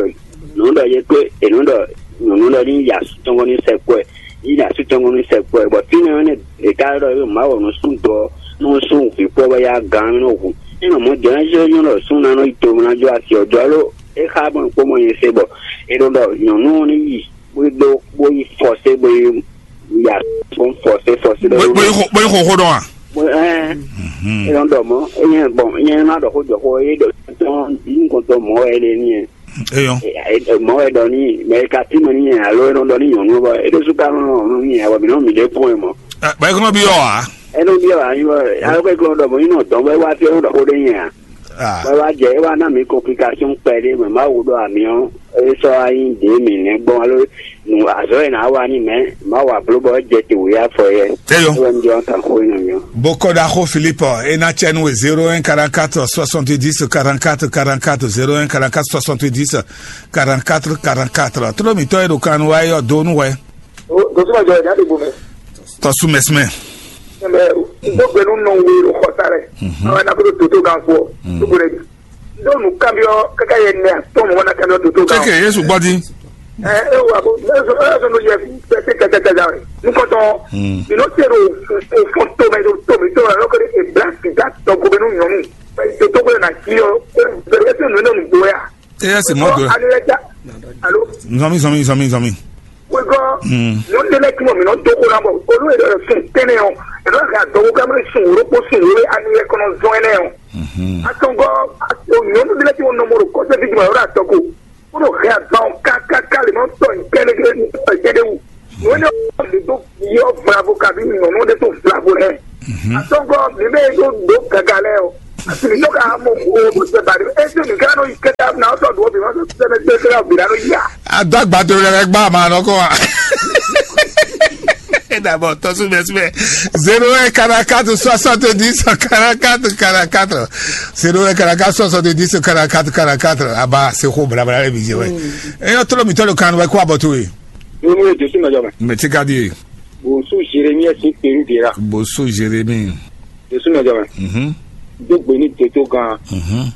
nǔ ɖɔ yě kpé è nǔ ɖɔ nyɔ̌nu ɖɔ ní yi asú tɔn gɔ́ ní sɛ kpɔ́ ɛ, yi asú tɔn gɔ́ ní sɛ kpɔ́ ɛ, bɔ fínɛ́ ɔ́ nɛ́ è ka ɖɔ é má wɔ nǔ sú dɔ nú sú vǐ kpɔ́ bɔ yá gǎn nɔ hu. É nɔ mɔ̌ jɔ ná jɛ nyɔ́ ɖɔ sú ná nɔ yi to ná jó asi ɔ́ jɔ alo é xá mɔ kpó mɔ nyi se bɔ è nɔ ɖɔ nyɔ̌nu ɔ́ ní yi bó yi ɖó bó yi fɔsé bó yi ya fɔn fɔsé fɔsé ɖɔ bóyá xo bóyá xo xo dɔn a. Bó ɛn Mhm. Eyɔn ɖɔ mɔ eyɛn bɔn nyɛ má ɖɔ xó jɔ xó eye ɖɔ tɔn yín kɔntɔ mɔ wɛ ɖe ní yɛ. Eyɔn. Mɔ wɛ ɖɔ ní mɛ ka tí mɛ ní yɛ alo enɔ ɖɔ ní nyɔnu bɔ e ɖésú ka nɔ nɔ ní yɛ bɔ mí nɔ mí ɖe kún ɛ mɔ. Bɛ kɔnɔ bi yɔ wa. Enɔ bi yɔ wa yín bɔ alo kɛ kɔnɔ ɖɔ mɔ yín nɔ dɔn bɛ wá fi ɛnɔ ɖɔ xó ɖe yɛ a. Ah. Bɛ wá jɛ e wá ná mi complication kpɛ ɖé mɛ má wo ɖɔ ami ɔ e sɔ wá yín ɖe mi nɛ gbɔn alo nu azɔ yɛ ná wá ní mɛ má wà bló bɔ jɛ te wòye afɔ yɛ. Eyɔ. Wɛ mi jɔ kan xó yín nɔ mi ɔ. Bokɔdaxo Philippe, ena cɛnu e zéro un quarante-quatre soixante-dix quarante-quatre quarante-quatre, zéro un quarante-quatre soixante-dix quarante-quatre quarante-quatre. Tolo mitɔ e ɖo kan wa yɔ do nu wɛ. O, dosunmɔ jɔ ya de gbo mɛ. Tɔsu mɛsmɛ. Mɛ do gbenu nɔ we o xɔsa rɛ. Mhm. Awa na ko do to gan fo. Mhm. To gbenu. Do nu kambiɔ kaka yɛ nɛ tɔn mɔ na kambiɔ do to gan. Keke Yesu gbɔdi. Ɛ e wa ko ne so e so no yɛ pɛtɛ tɛtɛ tɛ da. Nukɔtɔ. Mm. Ino se do o fɔ to mɛ do to mi to la lɔkɔ de e bla sida tɔ gbenu nyɔnu. To to gbenu na ki yɔ. E se nu ne nu gboya. Eyɛ se mɔ do. Alo ya. Alo. Nzɔmi nzɔmi nzɔmi nzɔmi. Wegɔ. Mm. Nyɔnu ɖe lɛ ti mɔ mi nɔ do ko na bɔ olu yɛ dɔ sun tɛnɛ ɔ. Ɛdɔ ka dɔ ko kamɛ sun wolo ko sun wolo ani yɛ kɔnɔ zɔn ɛnɛ ɔ. Mhm. Atɔngɔ ato nyɔnu ɖe lɛ ti mɔ nɔmɔ ɖo kɔsɛ fi juma yɔrɔ atɔ ko. Ko nɔ hɛ aban ɔ kakaka le nɔ tɔ nkɛnɛkɛnɛ tɔ jɛ de wu. Nyɔnu ɖe do yɔ vlavo kabi nyɔnu ɖe to vlavo lɛ. Mhm. Atɔngɔ mi bɛ do do gaga lɛ ɔ. Asi mi tɔ ka mo ko mo se ba de. Esi mi ka nɔ yi kɛta na sɔ do bi ma sɔ sɛ mɛ sɛ sɛ bi na nɔ yi a. Adó àgbàdo rẹ gbá àmà àná kọ́ wa. D'abord, tọ́sùn bẹ́ẹ̀ síbẹ̀. Zéro un quarante-quatre soixante-dix quarante-quatre quarante-quatre. Zéro un quarante-quatre soixante-dix quarante-quatre quarante-quatre. Aba, c'est quoi, blablabla, les vidéos, ouais. Et notre homme, il le can, ouais, quoi, Botoé? Yomi ye Jesu nɔ jɔ mɛ. Mɛ ti ka di ye. Bosu Jeremiah si peru de la. Bosu Jeremi. Jesu nɔ jɔ mɛ. Mhm. Do gbe ni toto gan. Mhm.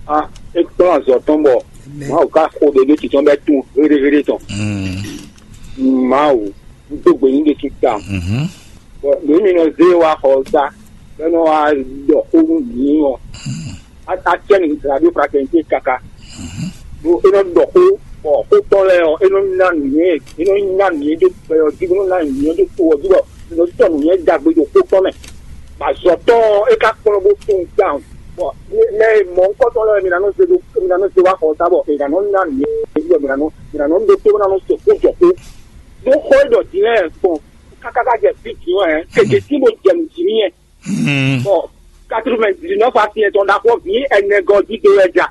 A e kplɔn azɔ tɔn bɔ. Mawu ka xo ɖe ɖo titɔn bɛ tun heɖeheɖe tɔn. Mm. Mawu do gbe ni ɖe kita. Mhm. Bɔn mi mi nɔ ze wa xɔ sa bɛ nɔ wa ɖɔ xo nu mi ɔ. Atiɛ ni radio fraternité kaka. Ɖo e nɔ ɖɔ xó bɔ xótɔ́ lɛ́ɛ ɔ, e nɔ nya nǔnywɛ́ e nɔ nya nǔnywɛ́ dó gbɛ ɔ́ jí bó nɔ nya nǔnywɛ́ dó to ɔ́ jí bɔ e nɔ sɔ́ nǔnywɛ́ ɖagbe ɖo xótɔ́ mɛ. Bɔ azɔ̌tɔ́ ɔ́, é ka kplɔ́n bó tunwun tawun. Bɔn mɛ mɔ̌hunkɔtɔn lɛ́ɛ mi ná nɔ zé ɖó mi ná nɔ zé wá xɔ ta bɔ mi ná nɔ ná nǔ e mi ná nɔ mi ná nɔ ɖó tó ná nɔ se xó jɔ xó. Ɖó xɔ e ɖɔ din lɛ́ɛ gbɔn kákáká jɛ fí din wɛ keke tí mo jɛ nǔ jí n'i yɛ. Bɔn quatre-vingt-dix-neuf asyɛn tɔn ɖaxó vǐ ɛnɛ gɔ́ jí do wɛ ja.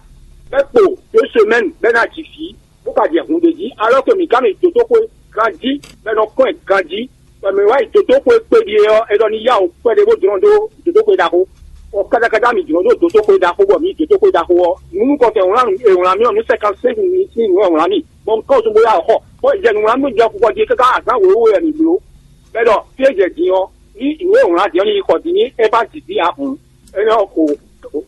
Bɛ kpo deux semaines bɛ ná jì fí. Bó ka jɛ hun ɖé jí, alɔ ke mǐ ka mì dǒdóxwe ganjí, bɔ è nɔ kɔn ɛ ganjí, bɔ mǐ wá yi dǒdóxwe kpéɖi é ɔ́, é ɖɔ ní yá wǔ kpɛɖé bó jlɔ́n dó dǒdóxwe ɖaxó. Ɔ kɛɖɛkɛɖɛ mǐ jlɔ́n dó dǒdóxwe ɖaxó, bɔ mǐ dǒdóxwe ɖaxó ɔ́, nǔ nukɔntɔn wlán nǔ è wlán mì ɔ́, nǔ sɛkan sɛ́n nǔ sín nǔ è wlán mì, bɔ un kɔn zun bó yá wǔ xɔ, bó jɛ nǔ wlán mì jɛ kukɔ jí káká azǎn wěwé wɛ mǐ bló. Bɔ é ɖɔ fí e jɛ din ɔ́, ní nǔ e è wlán din ɔ́ ní yi xɔ din ní é bá jǐ dín ǎ hǔn, é ná xo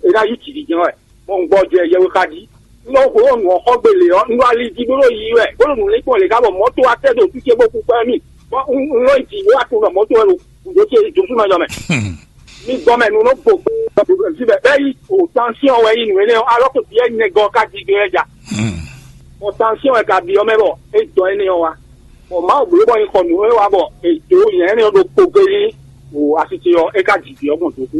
é ná yí jǐ din jɛ́n wɛ. Bɔ un gbɔ jɛ yɛwe xa jí. Un nɔ xwe ɔ́ nǔ ɔ́ xɔ gbe lě ɔ́, un ɖo ali jí bó ɖo yiyi wɛ, bó ɖo nǔ lɛ́ kpɔ́n lě ká bɔ mɔ̌to wá tɛ́ ɖo fí ce bó kú kpɛ́ mì. Bɔ un un nɔ yi jǐ bó wá tunwun ɖɔ mɔ̌to wɛ ɖo gǔdo ce Josu mɛ jɔ mɛ. Mi gbɔ mɛ nu nɔ gbo fí bɛ bɛ́ yi o tansyɔn wɛ yi nǔ énɛ́ ɔ́, alɔ ko biyɛ nɛgɔ ka jí gbé wɛ ja. Bɔ tansyɔn wɛ ka byɔ́ mɛ bɔ é dɔn énɛ́ ɔ́ wá. Bɔ Mawu bló bɔ nyí xɔ nǔ e wa bɔ è dǒ nyɛ̌ énɛ́ ɔ́ ɖokpó géé o asi ce ɔ́, é ka ji vǐ ɔ́ gbɔn dǒkú.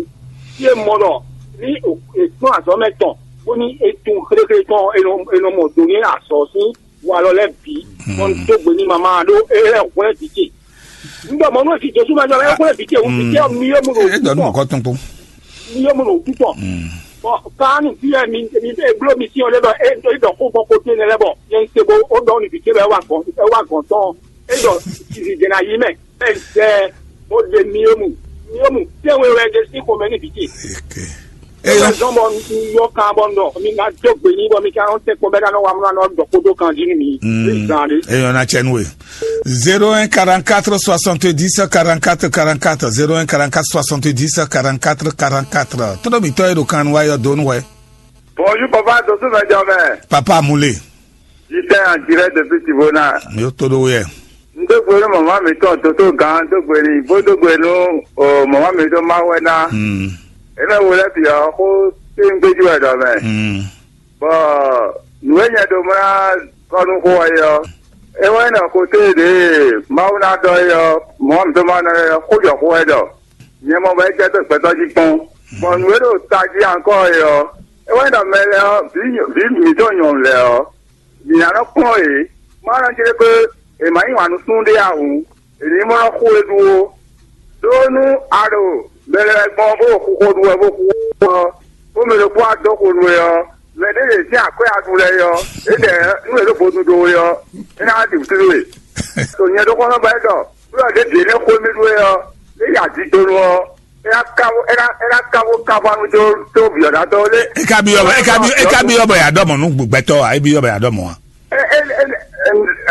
Fí e mɔ ɖɔ ní è kplɔ́n azɔ̌ mɛ tɔn bónú é tunwun xléxlé tɔn ɔ́, è nɔ è nɔ mɔ do nú azɔ̌ sín walɔ lɛ́ɛ bǐ, bɔ un dó gbe n'i mama ɖó é lɛ́ hwlɛ́n vǐ ce. Un ɖɔ mɔ̌ nú vǐ Jezu mɛ jɔ lɛ́ hwlɛ́n vǐ ce wú, vǐ ce ɔ́ mi yó mu ɖo é dɔ nú mɔ̌kɔ tɔn kpó. Mi yó mu ɖo wútu tɔn. Bɔn kaanu fí wɛ mi mi e bló mi sín ɔ́ lé bɔ é é ɖɔ xó gbɔn xó tɛ́nɛ lɛ́ɛ bɔ nyɛ un se bo ó ɖɔ nú vǐ ce bɔ é wá gɔn é wá gɔn tɔn é ɖɔ zizi jɛ ná yí mɛ é zɛ bó ɖe mi yó mu mi yó mu tɛ́nwe wɛ ɖe sín xomɛ ní vǐ ce. Eyɔ. Zɔn bɔ un yɔ kan bɔ un ɖɔ mi ná dó gbe n'i bɔ mi ka nɔ tɛ́ kpɔ́n bɛ́ ná nɔ wá mlá nɔ ɖɔ xó dó kan jí nú mi. Zan ɖé. Eyɔ na cɛ nú we. Zéro un quarante-quatre soixante-dix quarante-quatre quarante-quatre, zéro un quarante-quatre soixante-dix quarante-quatre quarante-quatre. Tóɖó mǐtɔn e ɖo kan wá yɔ dó nú wɛ. Bonjour papa, dosu mɛ jɔ mɛ. Papa Mule. Jitɛ an direct depuis Tivona. Mi ó tóɖó wɛ. N dó gbe nú mama mǐtɔn Toto Gan dó gbe n'i bó dó gbe nú o mama mǐtɔn Mawɛna. Hmm. Énɛ́ wo lɛ́ bǐ ɔ́ xó tɛ́ngbéjú wɛ ɖɔ mɛ. Hmm. Bɔ nǔ e nyɛ ɖo mlá kɔ nú xó ɔ́ é ɔ́, é wɛ nyí ɖɔ xotɛ́ ɖě Mawu ná ɖɔ é ɔ́, mɔ̌ mǐtɔn ma ná ɖɔ é ɔ́, xó jɔ xó wɛ ɖɔ. Nyɛ mɔ bɔ é jɛ dó gbɛtɔ́ jí kpɔ́n. Bɔ nǔ e ɖo tají ankɔ́ é ɔ́, é wɛ nyí ɖɔ mɛ lɛ́ɛ ɔ́, vǐ vǐ mǐtɔn nyɔ̌nu lɛ́ɛ ɔ́, mǐ ná nɔ kplɔ́n yě. Má nɔ jlé ɖó è ma yí wǎn nú súnnu ɖé ǎ hǔn, è ní mɔ nɔ xo é ɖu ó. Đó nú a ɖo mɛ lɛ́ɛ gbɔn bó ɖo xuxo ɖu wɛ bó xú ɔ́, bó mɛ ɖokpó wá dó xo nú we ɔ́, mɛ ɖé lě sín akwɛ́ a ɖu lɛ́ɛ é ɔ́, éɖɛ̌ nú è ɖó vodún dó we ɔ́, é ná wá ɖi wǔtú nú we. Ɖo nyɛ ɖokpónɔ ba é ɖɔ nú ɔ́ ɖěbǔ énɛ́ xó mì ɖu é ɔ́, é yi adidonu ɔ́, é ná káwó é ná é ná káwó káwá nú dó dó vǐ ɔ́ ná dó lé. E ka byɔ bɔ e ka byɔ e ka byɔ bɔ yà dɔ mɔ nú gbɛtɔ a? E byɔ bɔ yà dɔ mɔ a?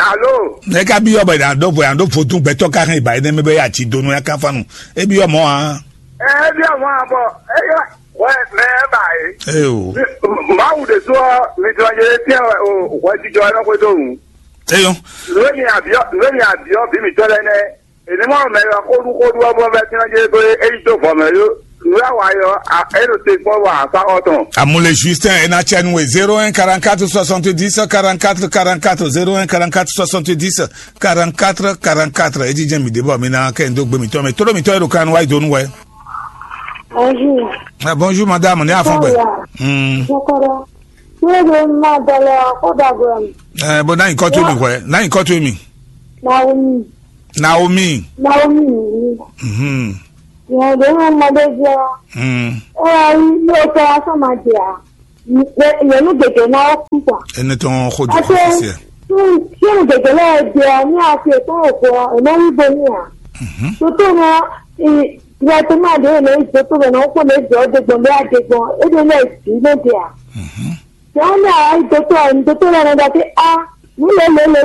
Alo. E ka byɔ bɔ yà dɔ bɔ yà dɔ vodun gbɛtɔ ka hɛn ba yi nɛ mɛ bɛ yà ti donu ya kan fanu. E byɔ mɔ a? E byɔ mɔ a bɔ e yɔ wɛ mɛ ba yi. Ee o. Mawu de sɔ mi tɔ ye tiɛ o wɛ jijɔ ɛ nɔ xwe do nu. Eyɔ. Nue mi abiɔ nue mi abiɔ bi mi tɔ lɛ nɛ. Èmi mɔ mɛ yɔ xóɖúxóɖú ɔ́ bɔ vɛ́ tínlá jɛ dó é yi dó vɔ̌ mɛ yó. Nǔ e a wa é ɔ́, é ɖo te kpɔ́n wa afá xɔ tɔn. Amule Justin e na cɛ nu e zéro un quarante-quatre soixante-dix quarante-quatre quarante-quatre, zéro un quarante-quatre soixante-dix quarante-quatre quarante-quatre. E jijɛ mi ɖe bɔ mi na kɛ n dó gbe mitɔ mɛ. Tóɖó mitɔ e ɖo kan wa yi dó nu wɛ. Bonjour. Ah, bonjour madame, ne afɔ gbɛ. Bonjour. Hmm. Bonjour. Ṣé ló máa bẹ̀rẹ̀ ọkọ̀ dàgbà mi? Eh, bó náà nǹkan tó mi wẹ̀, náà nǹkan tó mi. Naomi. Naomi. Naomi nìyí. Mhm. Ìyẹn ló ń mọdé jẹ́. Hmm. Ó wá rí lóòótọ́ aṣọ máa jẹ à. Ìyẹn ló gbèdé náà ó kú pa. Ẹni tó ń kojú Àti kọ́kọ́ sí ẹ. Tí tí mo gbèdé náà jẹ ní àti ètò òkú ẹ̀ náà wí bo ní à. Mhm. Tó tó náà ìwà tó máa dé ìlú ìjọ tó bẹ̀ náà ó pọ̀ lé jọ ọ́ dégbọn lé àdégbọn. Ó dé lé ìdí ló dé à. Mhm. Sɛ wani a yi dotɔ ni dotɔ la na da ke a nu le le le